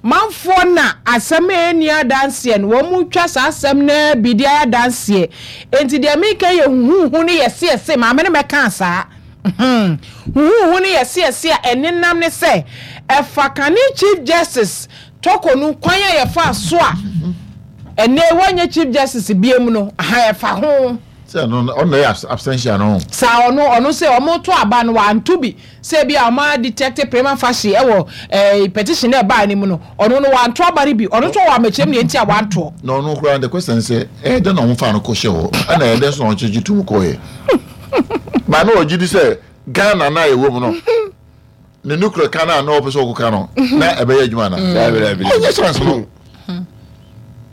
manfoɔ na asɛm a ɛnni adanseɛ no, wɔtwa saa asɛm no ara bi de ayɛ adanseɛ. Enti deɛ mereka yi yɛ huhuuhu ne yɛseyɛse, maame no mmɛkaa saa. Hmm. Huhuuhu no yɛ seɛse a ɛnenam ne sɛ ɛfa kane Chief Justice Torkornoo kwan a yɛfaa so a ɛnnɛ yi wanyɛ Chief Justice biam no, aha ɛfa ho. Sɛ ɛno no, ɔno na ɛyɛ absentia no. Saa ɔno, ɔno sɛ wɔto aba no wanto bi, sɛ ebi a wɔn a detect prima facie ɛwɔ ɛɛ petition na ɛbaa ne mu no, ɔno no wanto aba no bi, ɔno nso ɔwɔ amɛkyerɛm deɛ nti a wantoɔ. Na ɔno koraa the question sɛ ɛyɛ dɛn na wɔn faa no kɔ hyɛ hɔ, ɛna ɛyɛ dɛn nso na wɔn kyekye tum kɔɔɛ. Ba na ɔgye di sɛ Ghana no a yɛwɔ mu no. ne nuclear ka no a na ɔpɛ sɛ ɔkɔka no na ɛbɛyɛ adwuma na ɔnyɛ chance no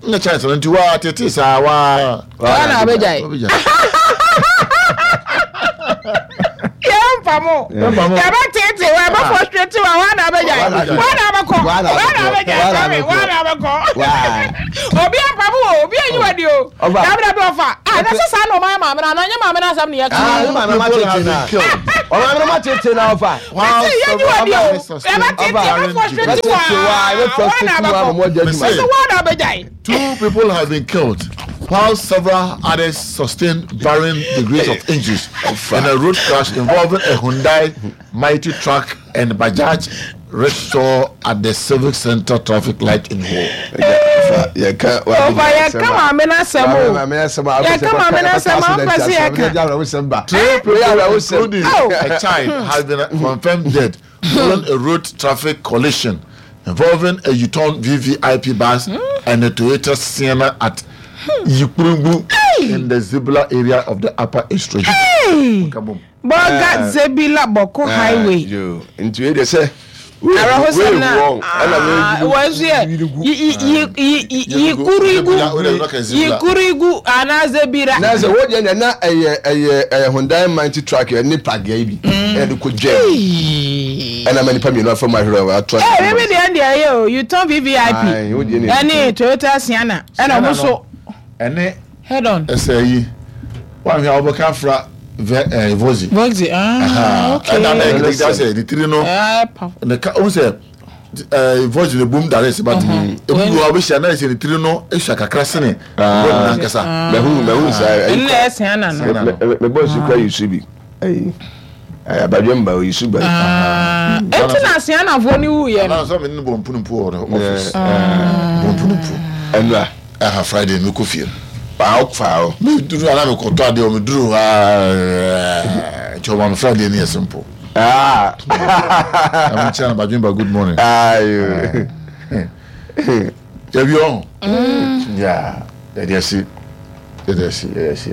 nyɛ chance no nti waa tete saa waa waa na abɛgyae yɛmfa mo yɛbɛtete wa yɛbɛ frustrate wa waa na abɛgyae waa na abɛkɔ waa na abɛgyae sɔre waa na abɛkɔ obi ampa mo o obi anyi wa di o dabi dabi ɔfa ah na sɛ saa na ɔma yɛ maame na anaa nyɛ maame na asɛm na yɛka ah maame ma tete na ɔmaame no ma tete na ɔfa mese yɛnyi wa di o yɛbɛtete yɛbɛ frustrate wa waa na abɛkɔ mese waa na abɛgyae. Two people have been killed while several others sustained varying degrees of injuries in a road crash involving a Hyundai Mighty truck and Bajaj rickshaw at the Civic Center traffic light in Ho. Yɛka maame no asɛm o. Yɛka maame no asɛm a mpɛ sɛ yɛka. Three people including a child has been confirmed dead following a road traffic collision involving a Yutong VVIP bus and a Toyota Sienna at Yikpurungu in the Zebilla area of the Upper East Region. Bolga Zebilla Bawku Highway. Nti wei deɛ sɛ Awerɛhosɛm na wɔn nso yɛ yikurigu yikurigu anaa zebira. Na sɛ wɔ deɛ na ɛyɛ ɛyɛ ɛyɛ Hyundai Mighty truck ɛne pragea yi bi ɛna de kɔ dwa mu ɛna ma nipa mmienu afa mu ahwerɛ wɔ ato. Ɛɛ bibi deɛ deɛ ɛyɛ o Yutong VVIP ɛne Toyota Sienna ɛna wɔn nso. Ɛne Head on. Ɛsɛ yi wahwɛ a wɔbɛka afra vɛ ɛɛ vozi. Vozi ah okay. Ɛna na ɛkita sɛ ne tiri no ne ka ohun sɛ ɛɛ vozi ne bom dare sɛ but ebi wɔ ɔbɛhyia na ɛsɛ ne tiri no esua kakra sene vozi nankasa. Mɛhu mɛhu saa. Ɛnna ɛsɛn ana no. Mɛ mɛ bɔ nsu kura yi su bi. Ayi abadwe mba oyi su ba. Eti na asianafoɔ ni wu yɛ no. Anaa sɛ mi ni bɔ mpunumpu wɔ ɔfis. Bɔ mpunumpu. Ɛnura. Ɛha Friday mi kɔ fie. Faa faa o. Mi duru ana mi kɔ tɔ adeɛ o mi duru aa nti ɔma mi Friday ni yɛ simple. Ɛmu kyerɛ na badwe mba good morning. Ayo. Yɛ bi ɔn. Yeah yɛ de ɛsi yɛ de ɛsi yɛ de ɛsi.